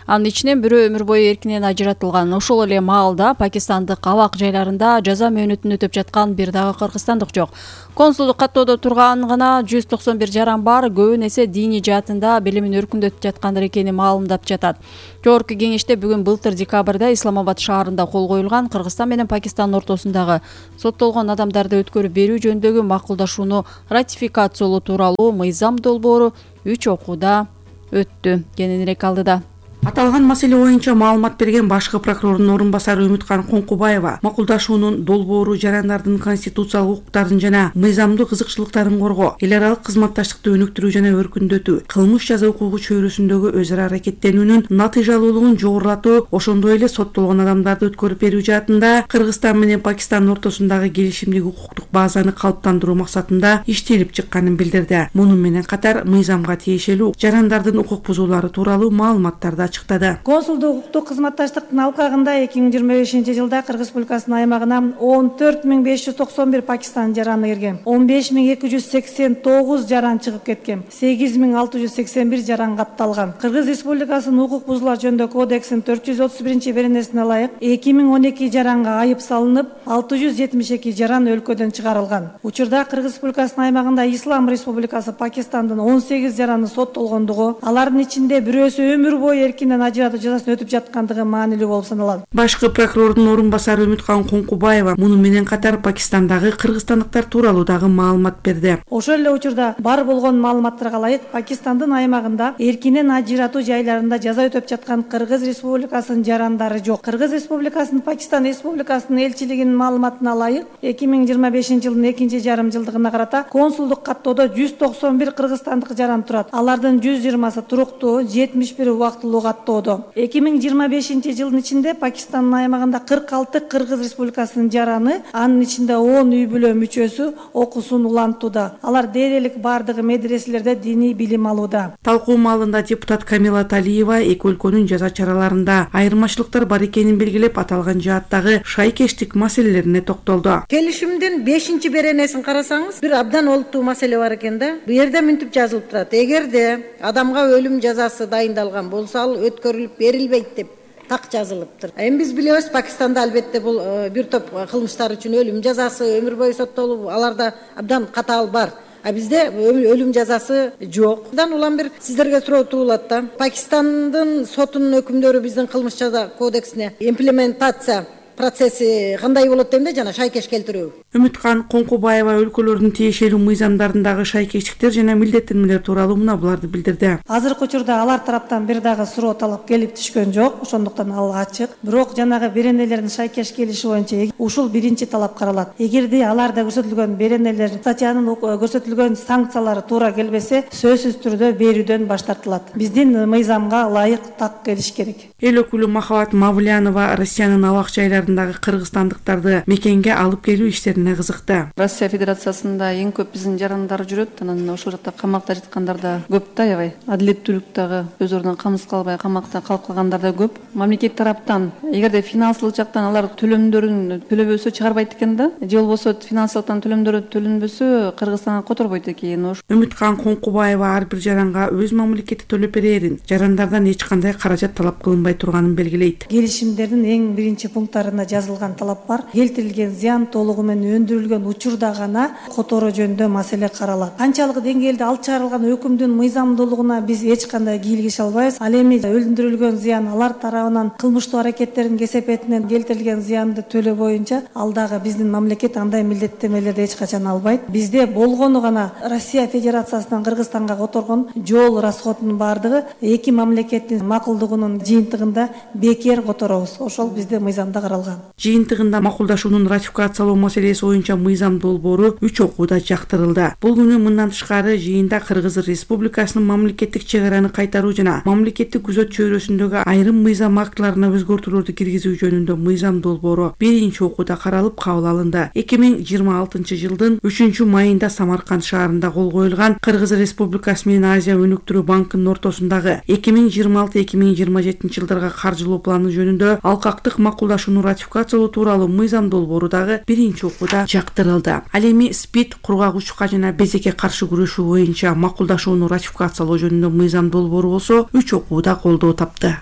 Анын ичинен бирөө өмүр бою эркинен ажыратылган. Ошол эле маалда пакистандык абак жайларында жаза мөөнөтүн өтөп жаткан бир дагы кыргызстандык жок. Консулдук каттоодо турган гана жүз токсон бир жаран бар. Көбүн эсе диний жаатында билимин өркүндөтүп жаткандар экени маалымдап жатат. Жогорку кеңеште бүгүн былтыр декабрда Исламабад шаарында кол коюлган Кыргызстан менен Пакистан ортосундагы соттолгон адамдарды өткөрүп берүү жөнүндөгү макулдашууну ратификациялоо тууралуу мыйзам долбоору үч окууда өттү. Кененирээк алдыда. Аталган маселе боюнча маалымат берген башкы прокурордун орун басары Үмүткан Коңкубаева макулдашуунун долбоору жарандардын конституциялык укуктарын жана мыйзамдуу кызыкчылыктарын коргоо, эл аралык кызматташтыкты өнүктүрүү жана өркүндөтүү, кылмыш жаза укугу чөйрөсүндөгү өз ара аракеттенүүнүн натыйжалуулугун жогорулатуу, ошондой эле соттолгон адамдарды өткөрүп берүү жаатында Кыргызстан менен Пакистан ортосундагы келишимдик укуктук базаны калыптандыруу максатында иштелип чыкканын билдирди. Муну менен катар мыйзамга тиешелүү жарандардын укук бузуулары тууралуу маалыматтарды ачыктады. Консулдук укуктук кызматташтыктын алкагында эки миң жыйырма бешинчи жылда Кыргыз Республикасынын аймагына он төрт миң беш жүз токсон бир Пакистан жараны кирген, он беш миң эки жүз сексен тогуз жаран чыгып кеткен, сегиз миң алты жүз сексен бир жаран катталган. Кыргыз Республикасынын укук бузуулар жөнүндө кодексинин төрт жүз отуз биринчи беренесине ылайык эки миң он эки жаранга айып салынып, алты жүз жетимиш эки жаран өлкөдөн чыгарылган. Учурда Кыргыз Республикасынын аймагында Ислам Республикасы Пакистандын он сегиз жараны соттолгондугу, алардын ичинде бирөөсү өмүр бою эркинен ажыратуу жазасын өтүп жаткандыгы маанилүү болуп саналат. Башкы прокурордун орун басары Үмүткан Коңкубаева муну менен катар Пакистандагы кыргызстандыктар тууралуу дагы маалымат берди. Ошол эле учурда бар болгон маалыматтарга ылайык Пакистандын аймагында эркинен ажыратуу жайларында жаза өтөп жаткан Кыргыз Республикасынын жарандары жок. Кыргыз Республикасынын Пакистан Республикасынын элчилигинин маалыматына ылайык эки миң жыйырма бешинчи жылдын экинчи жарым жылдыгына карата консулдук каттоодо жүз токсон бир кыргызстандык жаран турат. Алардын жүз жыйырмасы туруктуу, жетимиш бири убактылуу каттоодо. эки миң жыйырма бешинчи жылдын ичинде Пакистандын аймагында кырк алты Кыргыз Республикасынын жараны, анын ичинде он үй бүлө мүчөсү окуусун улантууда. Алар дээрлик бардыгы медреселерде диний билим алууда. Талкуу маалында депутат Камила Талиева эки өлкөнүн жаза чараларында айырмачылыктар бар экенин белгилеп, аталган жааттагы шайкештик маселелерине токтолду. Келишимдин бешинчи беренесин карасаңыз, бир абдан олуттуу маселе бар экен да. Бу жерде мынтип жазылып турат: эгерде адамга өлүм жазасы дайындалган болсо, ал өткөрүлүп берилбейт деп так жазылыптыр. Эми биз билебиз, Пакистанда албетте бул бир топ кылмыштар үчүн өлүм жазасы, өмүр бою соттолуу, аларда абдан катаал бар. А бизде өлүм жазасы жок. Андан улам бир сиздерге суроо туулат да. Пакистандын сотунун өкүмдөрү биздин кылмыш жаза кодексине имплементация процесси кандай болот дегенде жана шайкеш келтирүү. Үмүткан Коңкубаева өлкөлөрдүн тиешелүү мыйзамдарындагы шайкештиктер жана милдеттенмелер тууралуу мына буларды билдирди. Азыркы учурда алар тараптан бир дагы суроо талап келип түшкөн жок, ошондуктан ал ачык. Бирок жанагы беренелердин шайкеш келиши боюнча ушул биринчи талап каралат. Эгерде аларда көрсөтүлгөн беренелер статьянын көрсөтүлгөн санкциялары туура келбесе, сөзсүз түрдө берүүдөн баш тартылат. Биздин мыйзамга ылайык так келиш керек. Эл өкүлү Махабат Мавлянова Россиянын абак жайларындагы кыргызстандыктарды мекенге алып келүү иштерине кызыкты. Россия Федерациясында эң көп биздин жарандар жүрөт, анан ошол жакта камакта жаткандар да көп да, аябай. Адилеттүүлүк дагы өз ордунан камсыз калбай камакта калып калгандар да көп. Мамлекет тараптан эгерде финансылык жактан алар төлөмдөрүн төлөбөсө чыгарбайт экен да, же болбосо финансылыктан төлөмдөрү төлөнбөсө Кыргызстанга которбойт экен. Үмүткан Коңкубаева ар бир жаранга өз мамлекети төлөп берерин, жарандардан эч кандай каражат талап кылынбай турганын белгилейт. Келишимдердин эң биринчи пункттарында жазылган талап бар. Келтирилген зыян толугу менен өндүрүлгөн учурда гана которуу жөнүндө маселе каралат. Канчалык деңгээлде алып чыгарылган өкүмдүн мыйзамдуулугуна биз эч кандай кийлигише албайбыз. Ал эми өндүрүлгөн зыян алар тарабынан кылмыштуу аракеттердин кесепетинен келтирилген зыянды төлөө боюнча ал дагы биздин мамлекет андай милдеттенмелерди эч качан албайт. Бизде болгону гана Россия Федерациясынан Кыргызстанга которгон жол расходунун бардыгы эки мамлекеттин макулдугунун жыйынтыгында бекер которобуз. Ошол бизде мыйзамда каралат. алган. Жыйынтыгында макулдашуунун ратификациялоо маселеси боюнча мыйзам долбоору үч окууда жактырылды. Бул күнү мындан тышкары жыйында Кыргыз Республикасынын мамлекеттик чек араны кайтаруу жана мамлекеттик күзөт чөйрөсүндөгү айрым мыйзам актыларына өзгөртүүлөрдү киргизүү жөнүндө мыйзам долбоору биринчи окууда каралып кабыл алынды. эки миң жыйырма алтынчы жылдын үчүнчү майында Самарканд шаарында кол коюлган Кыргыз Республикасы менен Азия өнүктүрүү банкынын ортосундагы эки миң жыйырма алты эки миң жыйырма жетинчи жылдарга каржылоо планы жөнүндө алкактык макулдашууну ратификациялоо тууралуу мыйзам долбоору дагы биринчи окууда жактырылды. Ал эми СПИД, кургагучка жана безекке каршы күрөшүү боюнча макулдашууну ратификациялоо жөнүндө мыйзам долбоору болсо үч окууда колдоо тапты.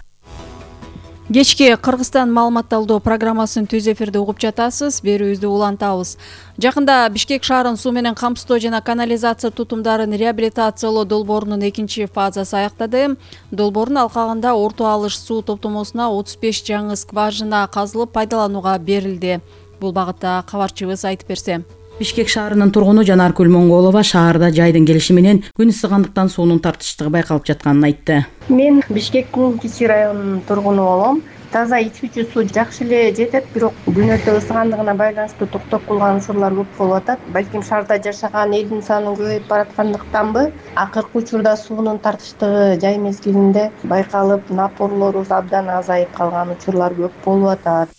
Кечки Кыргызстан маалыматталдоо программасын түз эфирде угуп жатасыз. Берүүбүздү улантабыз. Жакында Бишкек шаарын суу менен камсыздоо жана канализация тутумдарын реабилитациялоо долбоорунун экинчи фазасы аяктады. Долбоордун алкагында орто алыш суу топтомосуна отуз беш жаңы скважина казылып пайдаланууга берилди. Бул багытта кабарчыбыз айтып берсе. Бишкек шаарынын тургуну Жанаркүл Монголова шаарда жайдын келиши менен күн ысыгандыктан суунун тартыштыгы байкалып жатканын айтты. Мен Бишкектин Кичи районунун тургуну болом. Таза ичүүчү суу жакшы эле жетет, бирок күн өтө ысыгандыгына байланыштуу токтоп калган учурлар көп болуп атат. Балким шаарда жашаган элдин саны көбөйүп бараткандыктанбы, акыркы учурда суунун тартыштыгы жай мезгилинде байкалып, напорлору абдан азайып калган учурлар көп болуп атат.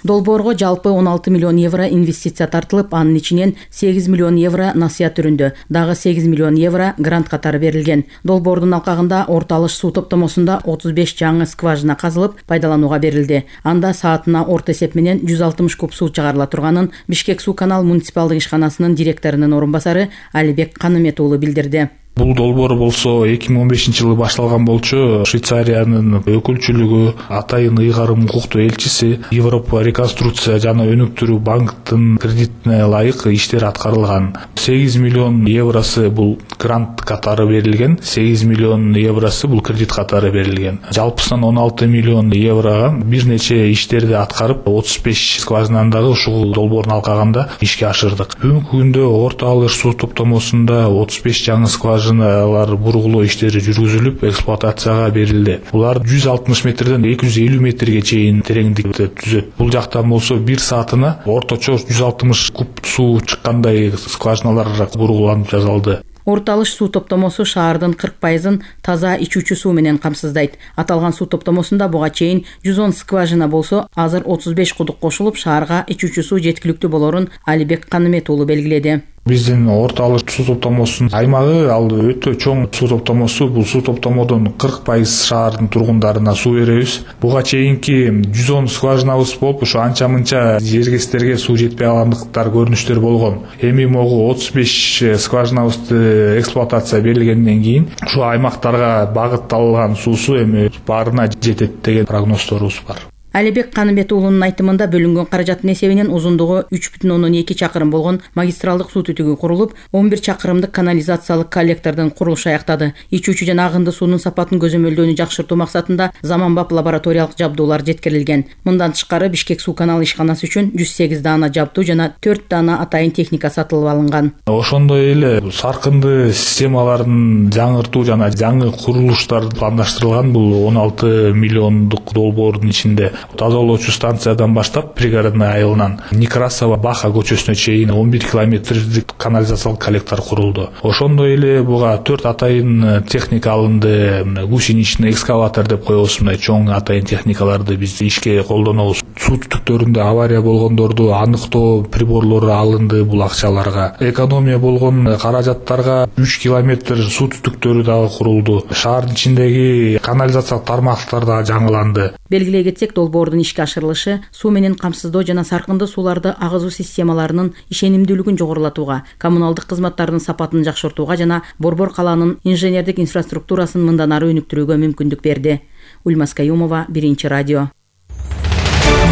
Долбоорго жалпы он алты миллион евро инвестиция тартылып, анын ичинен сегиз миллион евро насыят түрүндө, дагы сегиз миллион евро грант катары берилген. Долбоордун алкагында орто алыш суу топтомосунда отуз беш жаңы скважина казылып, пайдаланууга берилди. Анда саатына орто эсеп менен жүз алтымыш куб суу чыгарыла турганын Бишкек суу канал муниципалдык ишканасынын директорунун орун басары Алибек Канымет уулу билдирди. Бул долбоор болсо эки миң он бешинчи жылы башталган болчу. Швейцариянын өкүлчүлүгү, Атайын ыйгарым укуктуу элчиси, Европа реконструкция жана өнүктүрүү банктын кредитине ылайык иштер аткарылган. сегиз миллион евросы бул грант катары берилген, сегиз миллион евросы бул кредит катары берилген. Жалпысынан он алты миллион еврога бир нече иштерди аткарып, отуз беш скважинаны дагы ушул долбоордун алкагында ишке ашырдык. Бүгүнкү күндө орто алыш суу топтомосунда отуз беш жаңы скважина алар бургулоо иштери жүргүзүлүп, эксплуатацияга берилди. Булар жүз алтымыш метрден эки жүз элүү метрге чейин тереңдикте түзөт. Бул жактан болсо бир саатына орточо жүз алтымыш куб суу чыккандай скважиналар бургуланып жасалды. Орто алыш суу топтомосу шаардын кырк пайызын таза ичүүчү суу менен камсыздайт. Аталган суу топтомосунда буга чейин жүз он скважина болсо, азыр отуз беш кудук кошулуп, шаарга ичүүчү суу жеткиликтүү болорун Алибек Канымет уулу белгиледи. Биздин орто алыш суу топтомосунун аймагы ал өтө чоң суу топтомосу. Бул суу топтомодон кырк пайыз шаардын тургундарына суу беребиз. Буга чейинки жүз он скважинабыз болуп, ошо анча мынча жергестерге суу жетпей калгандыктар көрүнүштөр болгон. Эми могу отуз беш скважинабызды эксплуатация берилгенден кийин ушу аймактарга багытталган суусу эми баарына жетет деген прогнозторубуз бар. Алибек Канымет уулунун айтымында бөлүнгөн каражаттын эсебинен узундугу үч бүтүн ондон эки чакырым болгон магистралдык суу түтүгү курулуп, он бир чакырымдык канализациялык коллектордун курулушу аяктады. Ичүүчү жана агынды суунун сапатын көзөмөлдөөнү жакшыртуу максатында заманбап лабораториялык жабдуулар жеткирилген. Мындан тышкары Бишкек суу каналы ишканасы үчүн жүз сегиз даана жабдуу жана төрт даана атайын техника сатылып алынган. Ошондой эле саркынды системаларын жаңыртуу жана жаңы курулуштар пландаштырылган. Бул он алты миллиондук долбоордун ичинде тазалоочу станциядан баштап пригородный айылынан Некрасова Баха көчөсүнө чейин он бир километрдик канализациялык коллектор курулду. Ошондой эле буга төрт атайын техника алынды. Гусеничный экскаватор деп коебуз, мындай чоң атайын техникаларды биз ишке колдонобуз. Суу түтүктөрүндө авария болгондорду аныктоо приборлору алынды бул акчаларга. Экономия болгон каражаттарга үч километр суу түтүктөрү дагы курулду. Шаардын ичиндеги канализациялык тармактар да жаңыланды. Белгилей кетсек, долбоордун ишке ашырылышы суу менен камсыздоо жана саркынды сууларды агызуу системаларынын ишенимдүүлүгүн жогорулатууга, коммуналдык кызматтардын сапатын жакшыртууга жана Борбор калаанын инженердик инфраструктурасын мындан ары өнүктүрүүгө мүмкүндүк берди. Ульмас Каюмова, Биринчи радио.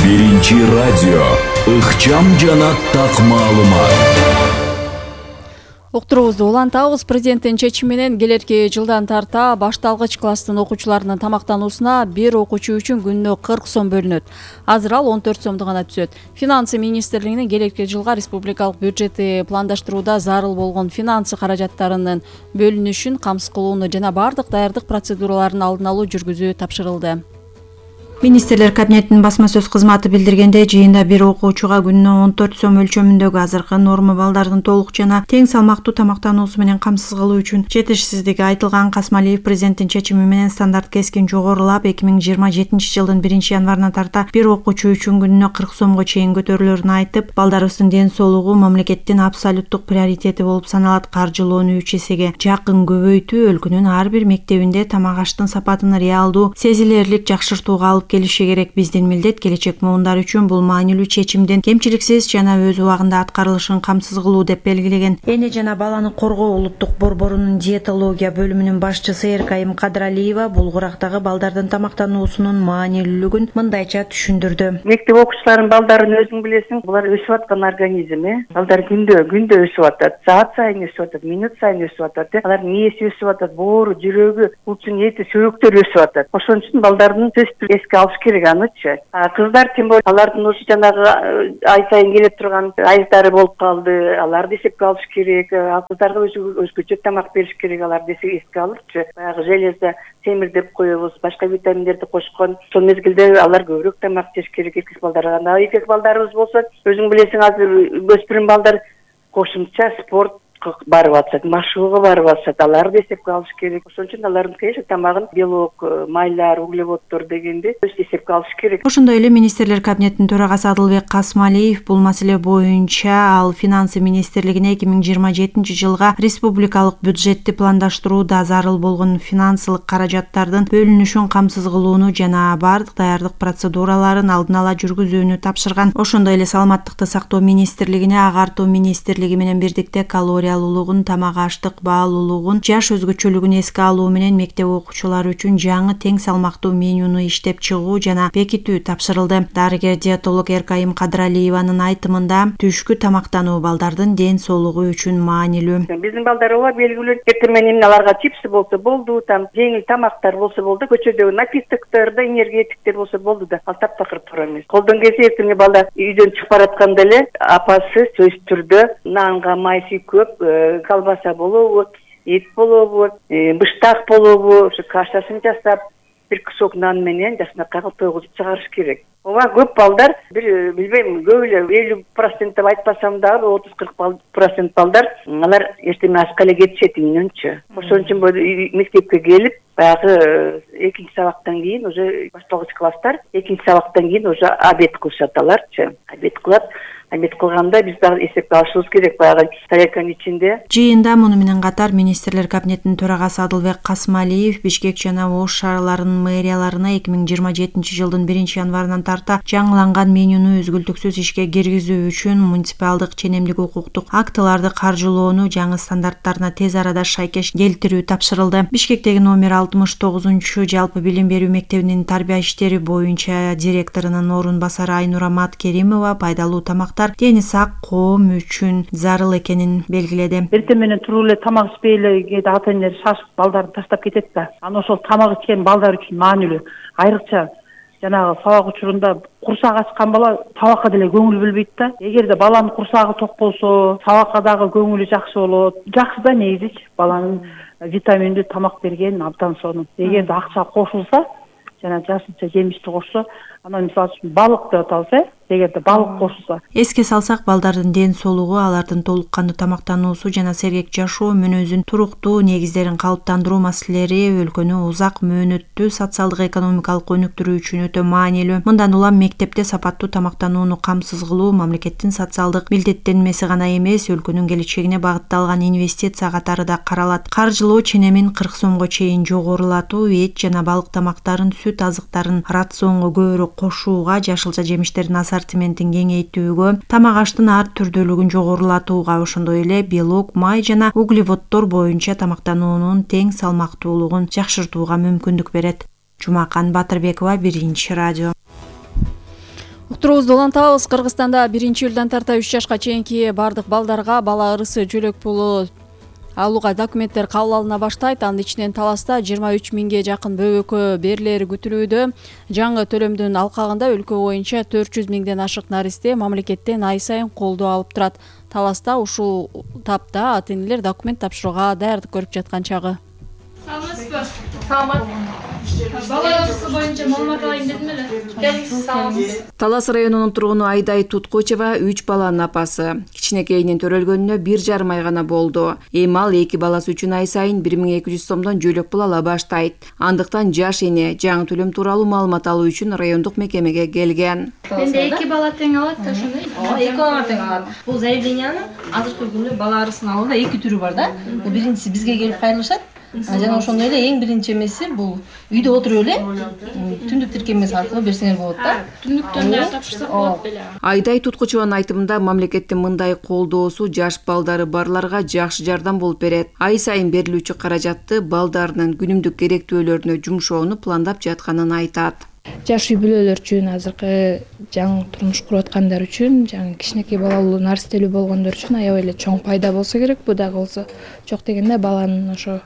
Биринчи радио. Ыкчам жана так маалымат. Уктуруубузду улантабыз. Президенттин чечими менен келерки жылдан тарта башталгыч класстын окуучуларынын тамактануусуна бир окуучу үчүн күнүнө кырк сом бөлүнөт. Азыр ал он төрт сомду гана түзөт. Финансы министрлигинин келерки жылга республикалык бюджетти пландаштырууда зарыл болгон финансы каражаттарынын бөлүнүшүн камсыз кылууну жана бардык даярдык процедураларын алдын алуу жүргүзүү тапшырылды. Министрлер кабинетинин басма сөз кызматы билдиргендей, жыйында бир окуучуга күнүнө он төрт сом өлчөмүндөгү азыркы норма балдардын толук жана тең салмактуу тамактануусу менен камсыз кылуу үчүн жетишсиздиги айтылган. Касмалиев президенттин чечими менен стандарт кескин жогорулап, эки миң жыйырма жетинчи жылдын биринчи январынан тарта бир окуучу үчүн күнүнө кырк сомго чейин көтөрүлөрүн айтып, балдарыбыздын ден соолугу мамлекеттин абсолюттук приоритети болуп саналат. Каржылоону үч эсеге жакын көбөйтүү өлкөнүн ар бир мектебинде тамак аштын сапатын реалдуу, сезилерлик жакшыртууга алып келиши керек. Биздин милдет келечек муундар үчүн бул маанилүү чечимдин кемчиликсиз жана өз убагында аткарылышын камсыз кылуу деп белгилеген. Эне жана баланы коргоо улуттук борборунун диетология бөлүмүнүн башчысы Эркайым Кадралиева булгурактагы балдардын тамактануусунун маанилүүлүгүн мындайча түшүндүрдү. Мектеп окуучуларынын балдарын өзүң билесиң, булар өсүп аткан организм, э. Балдар күндө күндө өсүп атат, саат сайын өсүп атат, минут сайын өсүп атат, э. Алардын мээси өсүп атат, боору, жүрөгү, булчун эти, сөйөктөрү өсүп атат. Ошон үчүн балдардын сөзсүз эске алыш керек анычы. Кыздар тем более алардын ушу жанагы ай сайын келип турган айыздары болуп калды. Аларды эсепке алыш керек. Ал кыздарга өзгөчө тамак бериш керек. Аларды эске алырчы. Баягы железо, темир деп коебуз, башка витаминдерди кошкон. Сол мезгилде алар көбүрөөк тамак жеш керек. Эркек балдарга, эркек балдарыбыз болсо, өзүң билесиң, азыр өспүрүм балдар кошумча спорт барып атышат, машыгууга барып атышат. Аларды эсепке алыш керек. Ошон үчүн алардын конечно тамагын белок, майлар, углеводдор дегенди эсепке алыш керек. Ошондой эле министрлер кабинетинин төрагасы Адылбек Касмалиев бул маселе боюнча ал финансы министрлигине эки миң жыйырма жетинчи жылга республикалык бюджетти пландаштырууда зарыл болгон финансылык каражаттардын бөлүнүшүн камсыз кылууну жана бардык даярдык процедураларын алдын ала жүргүзүүнү тапшырган. Ошондой эле саламаттыкты сактоо министрлигине агартуу министрлиги менен бирдикте калория калориялуулугун, тамак аштык баалуулугун, жаш өзгөчөлүгүн эске алуу менен мектеп окуучулары үчүн жаңы тең салмактуу менюну иштеп чыгуу жана бекитүү тапшырылды. Дарыгер-диетолог Эркайым Кадралиеванын айтымында, түшкү тамактануу балдардын ден соолугу үчүн маанилүү. Биздин балдар ооба белгилүү эртең менен аларга чипсы болсо болду, там жеңил тамактар болсо болду, көчөдөгү напитоктор да, энергетиктер болсо болду да, ал таптакыр туура эмес. Колдон келсе эртең балдар үйдөн чыгып баратканда эле апасы сөзсүз түрдө нанга майсы көп, колбаса болобу, эт болобу, быштак болобу, ушу кашасын жасап, бир кусок нан менен жакшынакай кылып тойгузуп чыгарыш керек. Ооба көп балдар, бир билбейм, көп эле элүү процент деп айтпасам дагы отуз кырк процент балдар алар эчтеме ашка эле кетишет үйүнөнчү. Ошон үчүн мектепке келип, баягы экинчи сабактан кийин уже башталгыч класстар экинчи сабактан кийин уже обед кылышат аларчы. Обед кылат. Обед кылганда биз дагы эсепке алышыбыз керек, баягы тарелканын ичинде. Жыйында муну менен катар министрлер кабинетинин төрагасы Адылбек Касмалиев Бишкек жана Ош шаарларынын мэрияларына эки миң жыйырма жетинчи жылдын биринчи январынан тарта жаңыланган менюну үзгүлтүксүз ишке киргизүү үчүн муниципалдык ченемдик укуктук актыларды каржылоону жаңы стандарттарына тез арада шайкеш келтирүү тапшырылды. Бишкектеги номер алтымыш тогузунчу жалпы билим берүү мектебинин тарбия иштери боюнча директорунун орун басары Айнура Маткеримова пайдалуу тамак дени сак коом үчүн зарыл экенин белгиледи. Эртең менен туруп эле тамак ичпей эле кээде ата энелер шашып балдарын таштап кетет да. Анан ошол тамак ичкен балдар үчүн маанилүү. Айрыкча жанагы сабак учурунда курсак ачкан бала табакка деле көңүл бөлбөйт да. Эгерде баланын курсагы ток болсо, сабакка дагы көңүлү жакшы болот. Жакшы да негизичи баланын витаминдүү тамак берген абдан сонун. Эгерде акча кошулса, жана жашылча жемишти кошсо, анан мисалы үчүн балык деп атабыз, э? Эгерде балык кошулса. Эске салсак, балдардын ден соолугу, алардын толук кандуу тамактануусу жана сергек жашоо мүнөзүн туруктуу негиздерин калыптандыруу маселелери өлкөнү узак мөөнөттүү социалдык экономикалык өнүктүрүү үчүн өтө маанилүү. Мындан улам мектепте сапаттуу тамактанууну камсыз кылуу мамлекеттин социалдык милдеттенмеси гана эмес, өлкөнүн келечегине багытталган инвестиция катары да каралат. Каржылоо ченемин кырк сомго чейин жогорулатуу, эт жана балык тамактарын, сүт азыктарын рационго көбүрөөк кошууга, жашылча жемиштердин ассортиментин кеңейтүүгө, тамак аштын ар түрдүүлүгүн жогорулатууга, ошондой эле белок, май жана углеводдор боюнча тамактануунун тең салмактуулугун жакшыртууга мүмкүндүк берет. Жумакан Батырбекова, Биринчи радио. Уктуруубузду улантабыз. Кыргызстанда биринчи июлдан тарта үч жашка чейинки бардык балдарга бала ырысы жөлөк пулу алууга документтер кабыл алына баштайт. Анын ичинен Таласта жыйырма үч миңге жакын бөбөккө берилери күтүлүүдө. Жаңы төлөмдүн алкагында өлкө боюнча төрт жүз миңден ашык наристе мамлекеттен ай сайын колдоо алып турат. Таласта ушул тапта ата-энелер документ тапшырууга даярдык көрүп жаткан чагы. Саламатсызбы? Саламат. Бала арысы боюнча маалымат алайын дедим эле. Талас районунун тургуну Айдай Туткучева үч баланын апасы. Кичинекейинин төрөлгөнүнө бир жарым ай гана болду. Эми ал эки баласы үчүн ай сайын бир миң эки жүз сомдон жөлөк пул ала баштайт. Андыктан жаш эне жаңы төлөм тууралуу маалымат алуу үчүн райондук мекемеге келген. Менде эки бала тең алат да ошондой. Эки бала тең алат. Бул заявлениянын азыркы күндө бала арысын алууда эки түрү бар да. Бул биринчиси бизге келип кайрылышат. Жана ошондой эле эң биринчи эмеси бул үйдө отуруп эле түндүк тиркемеси аркылуу берсеңер болот да. Түндүктөн да тапшырсак болот беле. Айдай Туткучеванын айтымында мамлекеттин мындай колдоосу жаш балдары барларга жакшы жардам болуп берет. Ай сайын берилүүчү каражатты балдарынын күнүмдүк керектүүлөрүнө жумшоону пландап жатканын айтат. Жаш үй бүлөлөр үчүн, азыркы жаңы турмуш куруп аткандар үчүн, жаңы кичинекей балалуу наристелүү болгондор үчүн аябай эле чоң пайда болсо керек. Бу дагы болсо жок дегенде баланын ошо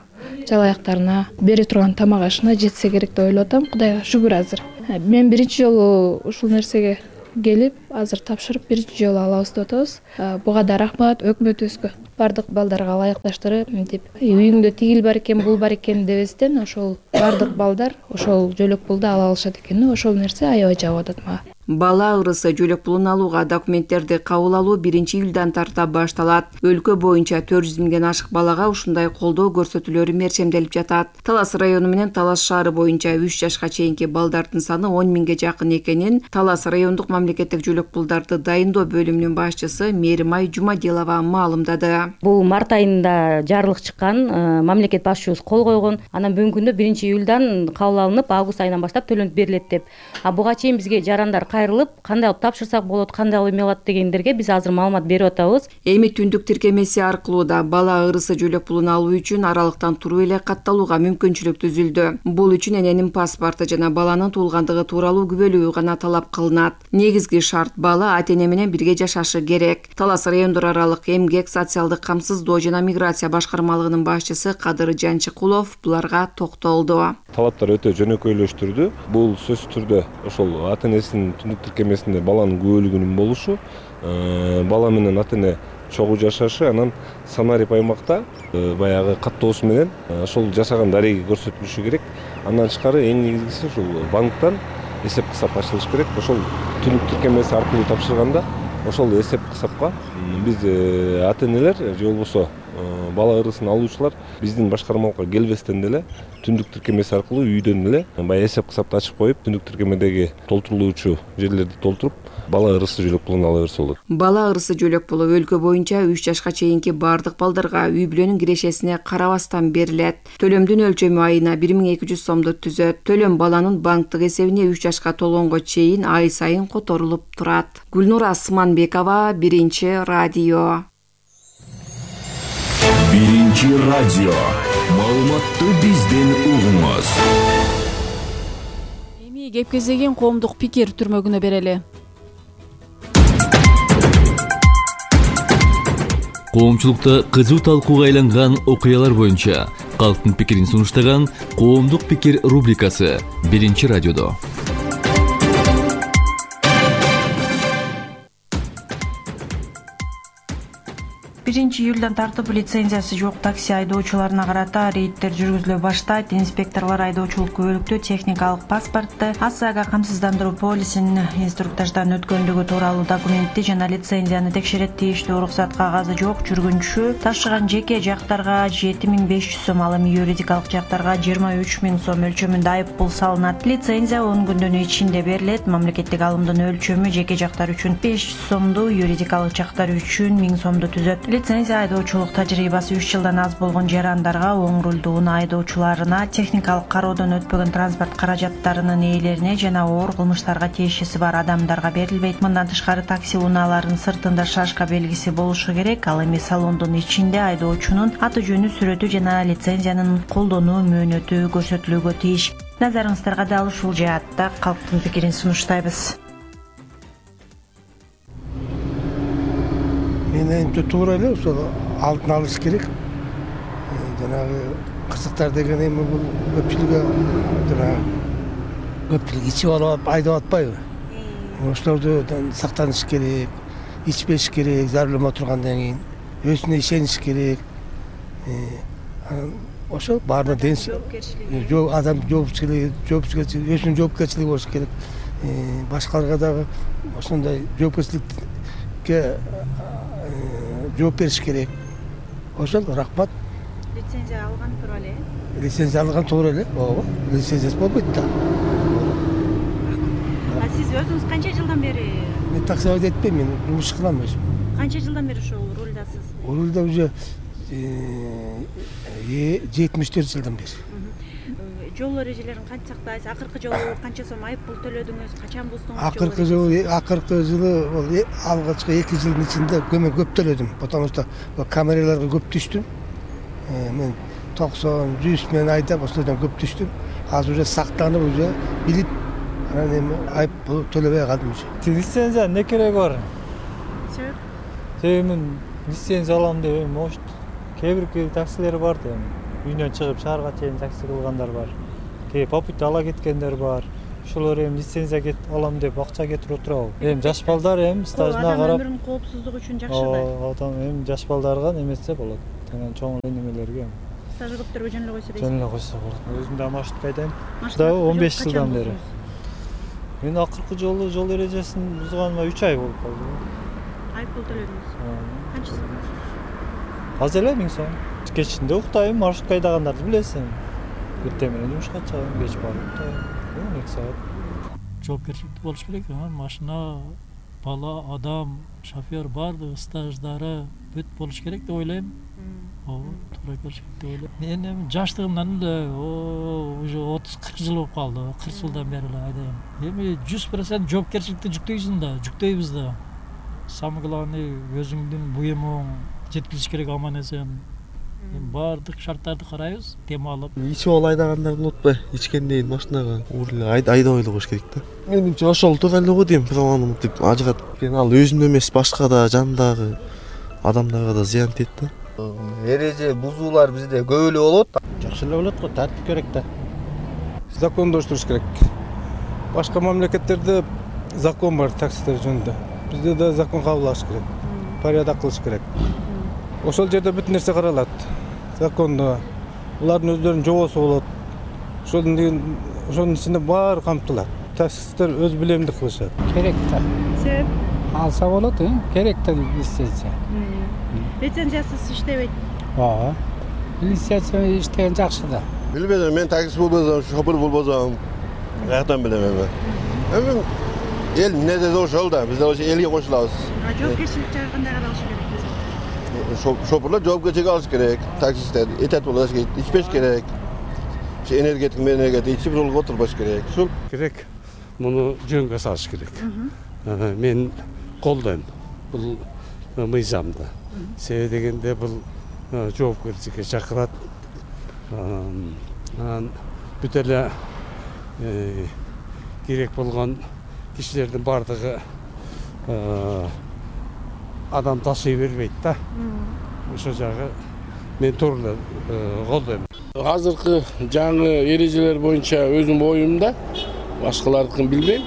жалааяктарына бере турган тамак ашына жетсе керек деп ойлоп атам. Кудайга шүгүр азыр. Мен биринчи жолу ушул нерсеге келип, азыр тапшырып биринчи жолу алабыз деп атабыз. Буга да рахмат өкмөтүбүзгө. Бардык балдарга ылайыкташтырып, мынтип үйүңдө тигил бар экен, бул бар экен дебестен ошол бардык балдар ошол жөлөк пулду ала алышат экен. Ошол нерсе аябай жагып атат мага. Бала ырысы жөлөк пулун алууга документтерди кабыл алуу биринчи июлдан тарта башталат. Өлкө боюнча төрт жүз миңден ашык балага ушундай колдоо көрсөтүүлөрү мерчемделип жатат. Талас району менен Талас шаары боюнча үч жашка чейинки балдардын саны он миңге жакын экенин Талас райондук мамлекеттик жөлөк пулдарды дайындоо бөлүмүнүн башчысы Меримай Жумадилова маалымдады. Бул март айында жарлык чыккан, мамлекет башчыбыз кол койгон. Анан бүгүнкү күндө биринчи июлдан кабыл алынып, август айынан баштап төлөнүп берилет деп. А буга чейин бизге жарандар кайрылып, кандай кылып тапшырсак болот, кандай кылып эме алат дегендерге биз азыр маалымат берип атабыз. Эми түндүк тиркемеси аркылуу да бала ырысы жөлөк пулун алуу үчүн аралыктан туруп эле катталууга мүмкүнчүлүк түзүлдү. Бул үчүн эненин паспорту жана баланын туулгандыгы тууралуу күбөлүү гана талап кылынат. Негизги шарт бала ата-эне менен бирге жашашы керек. Талас райондор аралык эмгек, социалдык камсыздоо жана миграция башкармалыгынын башчысы Кадыр Жанчыкулов буларга токтолду. Талаптар өтө жөнөкөйлөштүрдү. Бул сөзсүз түрдө ошол ата-энесинин түндүк тиркемесинде баланын күбөлүгүнүн болушу, бала менен ата-эне чогуу жашашы, анан санарип аймакта баягы каттоосу менен ошол жашаган дареги көрсөтүлүшү керек. Андан тышкары эң негизгиси ушул банктан эсеп кысап ачылыш керек. Ошол түндүк тиркемеси аркылуу тапшырганда ошол эсеп кысапка биз ата-энелер же болбосо бала ырысын алуучулар биздин башкармалыкка келбестен деле түндүк тиркемеси аркылуу үйдөн эле баягы эсеп кысапты ачып коюп, түндүк тиркемедеги толтурулуучу жерлерди толтуруп, бала ырысы жөлөк пулун ала берсе болот. Бала ырысы жөлөк пулу өлкө боюнча үч жашка чейинки бардык балдарга үй бүлөнүн кирешесине карабастан берилет. Төлөмдүн өлчөмү айына бир миң эки жүз сомду түзөт. Төлөм баланын банктык эсебине үч жашка толгонго чейин ай сайын которулуп турат. Гүлнур Асманбекова, Биринчи радио. Биринчи радио. Маалыматты бизден угуңуз. Эми кепкезеген коомдук пикир түрмөгүнө берели. Коомчулукта кызуу талкууга айланган окуялар боюнча калктын пикирин сунуштаган коомдук пикир рубрикасы Биринчи радиодо. биринчи июлдан тартып лицензиясы жок такси айдоочуларына карата рейдтер жүргүзүлө баштайт. Инспекторлор айдоочулук күбөлүктө техникалык паспортты, АСАга камсыздандыруу полисин, инструктаждан өткөндүгү тууралуу документти жана лицензияны текшерет. Тийиштүү уруксат кагазы жок жүргүнчү ташыган жеке жактарга жети миң беш жүз сом, ал эми юридикалык жактарга жыйырма үч миң сом өлчөмүндө айып пул салынат. Лицензия он күндүн ичинде берилет. Мамлекеттик алымдын өлчөмү жеке жактар үчүн беш жүз сомду, юридикалык жактар үчүн миң сомду түзөт. Лицензия айдоочулук тажрыйбасы үч жылдан аз болгон жарандарга, оң рулдуу унаа айдоочуларына, техникалык кароодон өтпөгөн транспорт каражаттарынын ээлерине жана оор кылмыштарга тиешеси бар адамдарга берилбейт. Мындан тышкары такси унааларынын сыртында шашка белгиси болушу керек. Ал эми салондун ичинде айдоочунун аты жөнү, сүрөтү жана лицензиянын колдонуу мөөнөтү көрсөтүлүүгө тийиш. Назарыңыздарга дал ушул жаатта калктын пикирин сунуштайбыз. Менин туура эле ошол алдын алыш керек. Жанагы кырсыктар деген эми бул көпчүлүгү жанагы көпчүлүк ичип алып айдап атпайбы? Ошолордон сактаныш керек, ичпеш керек, за рулем отургандан кийин өзүнө ишениш керек. ошол баарына денс адам жоопкерчилиги жоопкерчилиги өзүнүн жоопкерчилиги болуш керек. Башкаларга дагы ошондой жоопкерчиликке жооп бериш керек. Ошол рахмат. Лицензия алган туура эле. Лицензия алган туура эле. Ооба. Лицензиясы болбойт да. А сиз өзүңүз канча жылдан бери? Мен таксовод этпейм, мен жумуш кылам өзүм. Канча жылдан бери ошол рулдасыз? Рулда уже жетимиш төрт жылдан бери. Жол эрежелерин кантип сактайсыз? Акыркы жолу канча сом айып пул төлөдүңүз? Качан буздуңуз? Акыркы жолу, акыркы жылы бул алгачкы эки жылдын ичинде көмө көп төлөдүм. Потому что камераларга көп түштүм. Мен токсон жүз менен айдап ошолордон көп түштүм. Азыр уже сактанып уже билип анан эми айып пул төлөбөй калдым уже. Лицензия не кереги бар? Себеп? Себеби мен лицензия алам деп эми может кээ бир таксилер бар да эми. Үйүнөн чыгып шаарга чейин такси кылгандар бар. Кээ попутта ала кеткендер бар. Ошолор эми лицензия кет алам деп акча кетирип отурабы. Эми жаш балдар эми стажына карап. Өмүрүнүн коопсуздугу үчүн жакшы да. Адам эми жаш балдарга немесе болот. Анан чоң немелерге. Стаж көптөргө жөн эле койсо дейсиз. Жөн эле койсо болот. Өзүм да маршрутка айдайм. Дагы он беш жылдан бери. Мен акыркы жолу жол эрежесин бузганыма үч ай болуп калды. Айып пул төлөдүңүз. Канча сом? Аз эле миң сом. Кечинде уктайм, маршрутка айдагандарды билесиң. Эртең менен жумушка чыгам, кеч барып уктайм. он эки саат. Жоопкерчиликтүү болуш керек. Машина, бала, адам, шофер баардыгы стаждары бүт болуш керек деп ойлойм. Ооба, туура келиш керек деп ойлойм. Мен эми жаштыгымдан эле уже отуз кырк жыл болуп калды. кырк жылдан бери эле айдайм. Эми жүз процент жоопкерчиликти жүктөйсүң да, жүктөйбүз да. Самое главное өзүңдүн буюмуң жеткизиш керек аман эсен. Баардык шарттарды карайбыз, тем алып. Ичип алып айдагандар болот ба? Ичкенден машинага урлы айдабай коюш керек да. Менимче ошол туура эле го дейм, праваны мынтип ажыратып. Мен ал өзүм эмес, башка да жандагы адамдарга да зыян тиет да. Эреже бузуулар бизде көп эле болот. Жакшы эле болот го, тартип керек да. Закондоштуруш керек. Башка мамлекеттерде закон бар таксилер жөнүндө. Бизде да закон кабыл керек. Порядок кылыш керек. Ошол жерде бүт нерсе каралат. Закондо булардын өздөрүнүн жобосу болот. Ошондун ошонун ичинде баары камтылат. Таксисттер өз билемдик кылышат. Керек да. Себеп? Алса болот, э? Керек да лицензия. Лицензиясыз иштебейт. Ооба. Лицензия иштеген жакшы да. Билбедим, мен такси болбосом, шофер болбосом, каяктан билем эми. Эми эл эмне деди ошол да, биз ошо элге кошулабыз. Жоопкерчилик жагы кандай каралыш керек? Шоферлар жоопкерчилик алыш керек, таксисттер этат болуш керек, ичпеш керек. Энергетик менен ичип жолго отурбаш керек. Ушул керек. Муну жөнгө салыш керек. Мен колдойм бул мыйзамды. Себеби дегенде бул жоопкерчиликке чакырат. Анан бүт эле керек болгон кишилердин бардыгы адам ташый бербейт да. Ошол жагы мен туура колдойм. Азыркы жаңы эрежелер боюнча өзүм оюмда, башкалардыкын билбейм.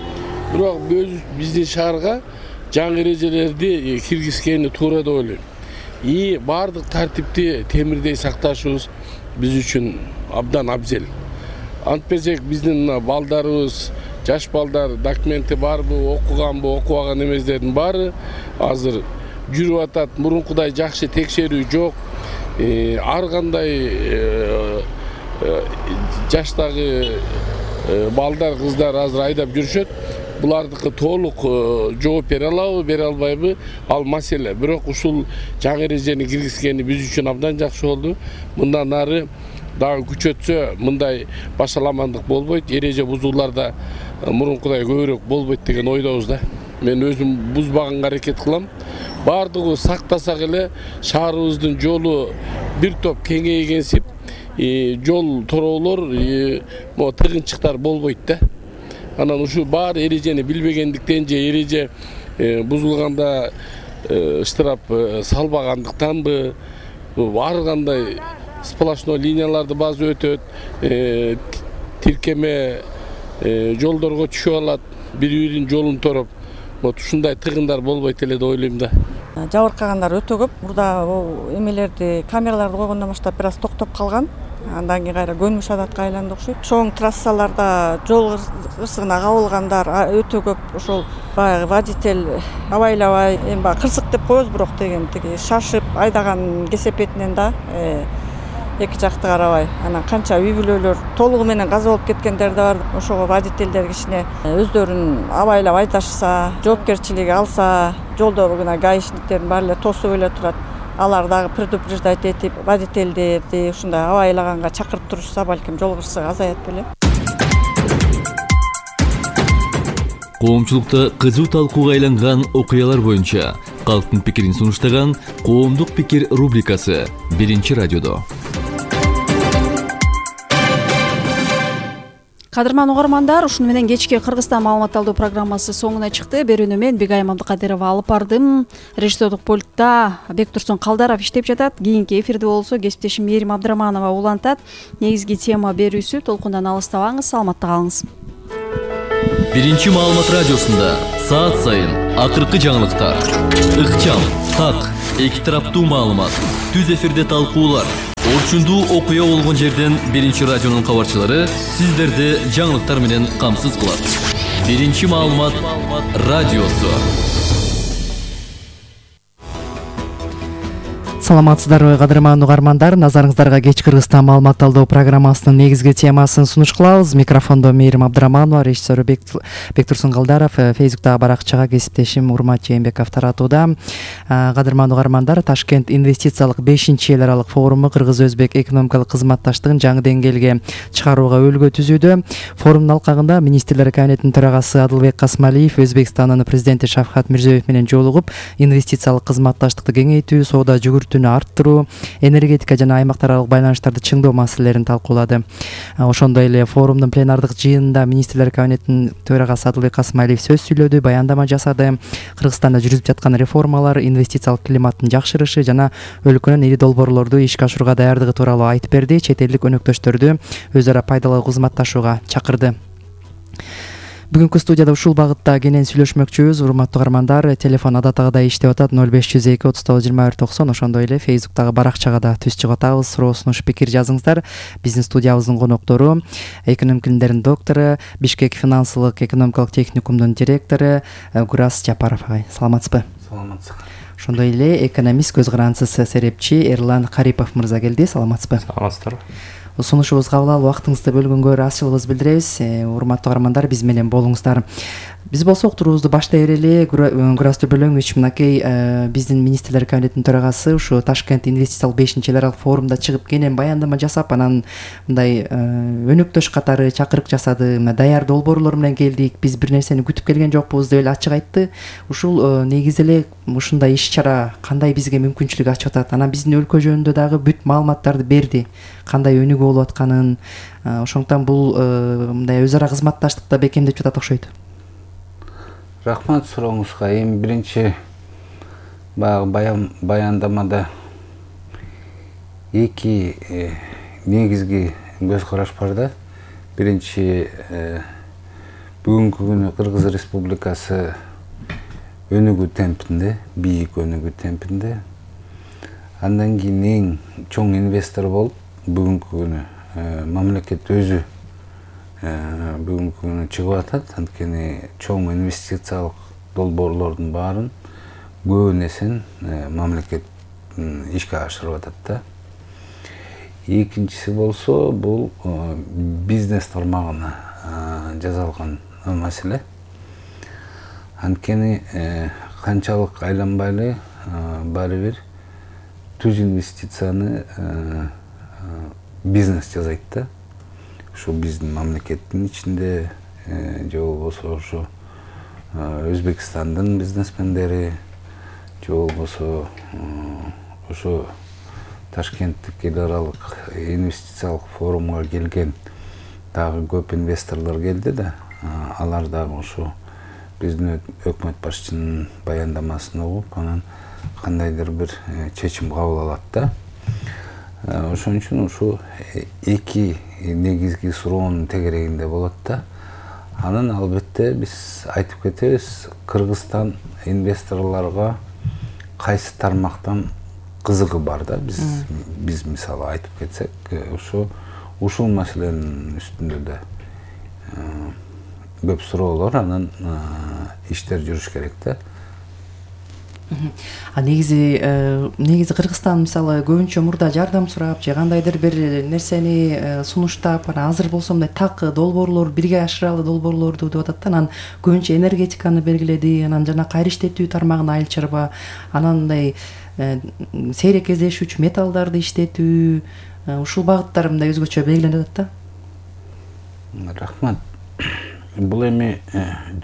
Бирок биздин шаарга жаңы эрежелерди киргизгени туура деп ойлойм. И бардык тартипти темирдей сакташыбыз биз үчүн абдан абзел. Антпесек биздин балдарыбыз, жаш балдар документи барбы, окуганбы, окубаган эместердин баары азыр жүрүп атат. Мурункудай жакшы текшерүү жок. Ар кандай жаштагы балдар, кыздар азыр айдап жүрүшөт. Булардыкы толук жооп бере алабы, бере албайбы, ал маселе. Бирок ушул жаңы эрежени киргизгени биз үчүн абдан жакшы болду. Мындан ары дагы күчөтсө мындай башаламандык болбойт. Эреже бузууларда мурункудай көбүрөөк болбойт деген ойдобуз да. Мен өзүм бузбаганга аракет кылам. Бардыгы сактасак эле шаарыбыздын жолу бир топ кеңейгенсип, жол тороолор, могу тыгынчыктар болбойт да. Анан ушу баары эрежени билбегендиктен же эреже бузулганда штраф салбагандыктанбы, ар кандай сплошной линияларды базы өтөт, тиркеме жолдорго түшүп алат, бири-биринин жолун тороп. Вот ушундай тыгындар болбойт эле деп ойлойм да. Жабыркагандар өтө көп. Мурда эмелерди, камераларды койгондон баштап бир аз токтоп калган. Андан кийин кайра көнүш адатка айланды окшойт. Чоң трассаларда жол кырсыгына кабылгандар өтө көп. Ошол баягы водитель абайлабай, эми баягы кырсык деп коебуз, бирок деген тиги шашып айдаган кесепетинен да эки жакты карабай, анан канча үй бүлөлөр толугу менен каза болуп кеткендер да бар. Ошого водительдер кичине өздөрүн абайлап айдашса, жоопкерчилиги алса, жолдо гана гаишниктердин баары эле тосуп эле турат. Алар дагы предупреждать этип, водительдерди ушундай абайлаганга чакырып турушса, балким жол кырсыгы азаят белем. Коомчулукта кызуу талкууга айланган окуялар боюнча калктын пикирин сунуштаган Коомдук пикир рубрикасы биринчи радиодо. Кадырман угармандар, ушуну менен кечки Кыргызстан маалымат алуу программасы соңуна чыкты. Берүүнү мен Бегайым Абдыкадырова алып бардым. Режиссердук пультта Бектурсун Калдаров иштеп жатат. Кийинки эфирде болсо кесиптешим Мээрим Абдыраманова улантат. Негизги тема берүүсү. Толкундан алыстабаңыз, саламатта калыңыз. Биринчи маалымат радиосунда саат сайын акыркы жаңылыктар, ыкчам, так, эки тараптуу маалымат, түз эфирде талкуулар, орчундуу окуя болгон жерден биринчи радионун кабарчылары сиздерди жаңылыктар менен камсыз кылат. Биринчи маалымат радиосу. Саламатсыздарбы, кадырман угармандар. Назарыңыздарга кеч Кыргызстан маалымат алуу программасынын негизги темасын сунуш кылабыз. Микрофондо Мээрим Абдыраманова, режиссер Бектурсун Калдаров, Фейсбуктагы баракчага кесиптешим Урмат Жээнбеков таратууда. Кадырман угармандар, Ташкент инвестициялык бешинчи эл аралык форуму Кыргыз-Өзбек экономикалык кызматташтыгын жаңы деңгээлге чыгарууга өбөлгө түзүүдө. Форумдун алкагында министрлер кабинетинин төрагасы Адылбек Касмалиев Өзбекстандын президенти Шавкат Мирзиёев менен жолугуп, инвестициялык кызматташтыкты кеңейтүү, соода жүгүртүүнү арттыруу, энергетика жана аймактар аралык байланыштарды чыңдоо маселелерин талкуулады. Ошондой эле форумдун пленардык жыйынында министрлер кабинетинин төрагасы Адылбек Касмалиев сөз сүйлөдү, баяндама жасады. Кыргызстанда жүрүп жаткан реформалар, инвестициялык климаттын жакшырышы жана өлкөнүн ири долбоорлорду ишке ашырууга даярдыгы тууралуу айтып берди. Чет элдик өнөктөштөрдү өз ара пайдалуу кызматташууга чакырды. Бүгүнкү студияда ушул багытта кенен сүйлөшмөкчүбүз. Урматтуу угармандар, телефон адатагыдай иштеп атат ноль беш жүз эки отуз тогуз жыйырма бир токсон. Ошондой эле Фейсбуктагы баракчага да түз чыгып атабыз. Суроо, сунуш, пикир жазыңыздар. Биздин студиябыздын коноктору экономика илимдеринин доктору, Бишкек финансылык экономикалык техникумдун директору Гурас Жапаров агай. Саламатсызбы? Саламатсызбы. Ошондой эле экономист, көз карандысыз серепчи Эрлан Карипов мырза келди. Саламатсызбы? Саламатсыздарбы. Сунушубузга кабыл алып, убактыңызды бөлгөнгө ыраазычылыгыбызды билдиребиз. Урматтуу угармандар, биз менен болуңуздар. Биз болсо уктуруубузду баштай берели эле. Гурас Төбөлөңүч, мынакей биздин министрлер кабинетинин төрагасы ушу Ташкент инвестициялык бешинчи эл аралык форумда чыгып кенен баяндама жасап, анан мындай өнөктөш катары чакырык жасады. Мына даяр долбоорлор менен келдик, биз бир нерсени күтүп келген жокпуз деп эле ачык айтты. Ушул негизи эле ушундай иш-чара кандай бизге мүмкүнчүлүк ачып атат? Анан биздин өлкө жөнүндө дагы бүт маалыматтарды берди. Кандай өнүгүү болуп атканын, ошондуктан бул мындай өз ара кызматташтыкта бекемдеп жатат окшойт. Рахмат сурооңузга. Эми биринчи баягы баяндамада эки негизги көз караш бар да. Биринчи, бүгүнкү күнү Кыргыз Республикасы өнүгүү темпинде, бийик өнүгүү темпинде. Андан кийин эң чоң инвестор болуп, бүгүнкү күнү мамлекет өзү бүгүнкү күнү чыгып атат. Анткени чоң инвестициялык долбоорлордун баарын көбүнесин мамлекет ишке ашырып атат да. Экинчиси болсо, бул бизнес тармагына жасалган маселе. Анткени канчалык айланбайлы баары бир түз инвестицияны бизнес жасайт да. Ушу биздин мамлекеттин ичинде же болбосо ушу Өзбекстандын бизнесмендери, же болбосо ушу Ташкенттик эл аралык инвестициялык форумга келген дагы көп инвесторлор келди да. Алар дагы ушу биздин өкмөт башчынын баяндамасын угуп, анан кандайдыр бир чечим кабыл алат да. Ошон үчүн ушу эки негизги суроонун тегерегинде болот да. Анан албетте биз айтып кетебиз, Кыргызстан инвесторлорго кайсы тармактан кызыгы бар да. Биз биз мисалы айтып кетсек, ошо ушул маселенин үстүндө да көп суроолор, анан иштер жүрүш керек да. А негизи негизи Кыргызстан мисалы көбүнчө мурда жардам сурап же кандайдыр бир нерсени сунуштап, анан азыр болсо мындай так долбоорлор, бирге ашыралы долбоорлорду деп атат да. Анан көбүнчө энергетиканы белгиледи, анан жана кайра иштетүү тармагына айыл чарба, анан мындай сейрек кездешүүчү металлдарды иштетүү, ушул багыттар мындай өзгөчө белгиленип атат да. Рахмат. Бул эми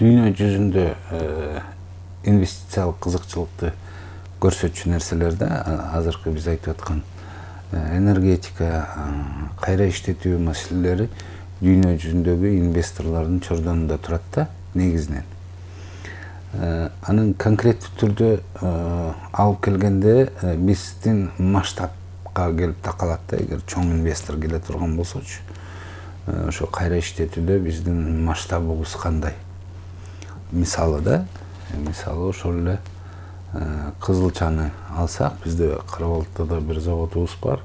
дүйнө жүзүндө инвестициялык кызыкчылыкты көрсөтчү нерселер да. Азыркы биз айтып аткан энергетика, кайра иштетүү маселелери дүйнө жүзүндөгү инвесторлордун чордонунда турат да, негизинен. Анын конкреттүү түрдө алып келгенде биздин масштабка келип такалат да. Эгер чоң инвестор келе турган болсочу, ошо кайра иштетүүдө биздин масштабыбыз кандай? Мисалы да, мисалы ошол эле Кызылчаны алсак, бизде Карабалтыда бир заводубуз бар.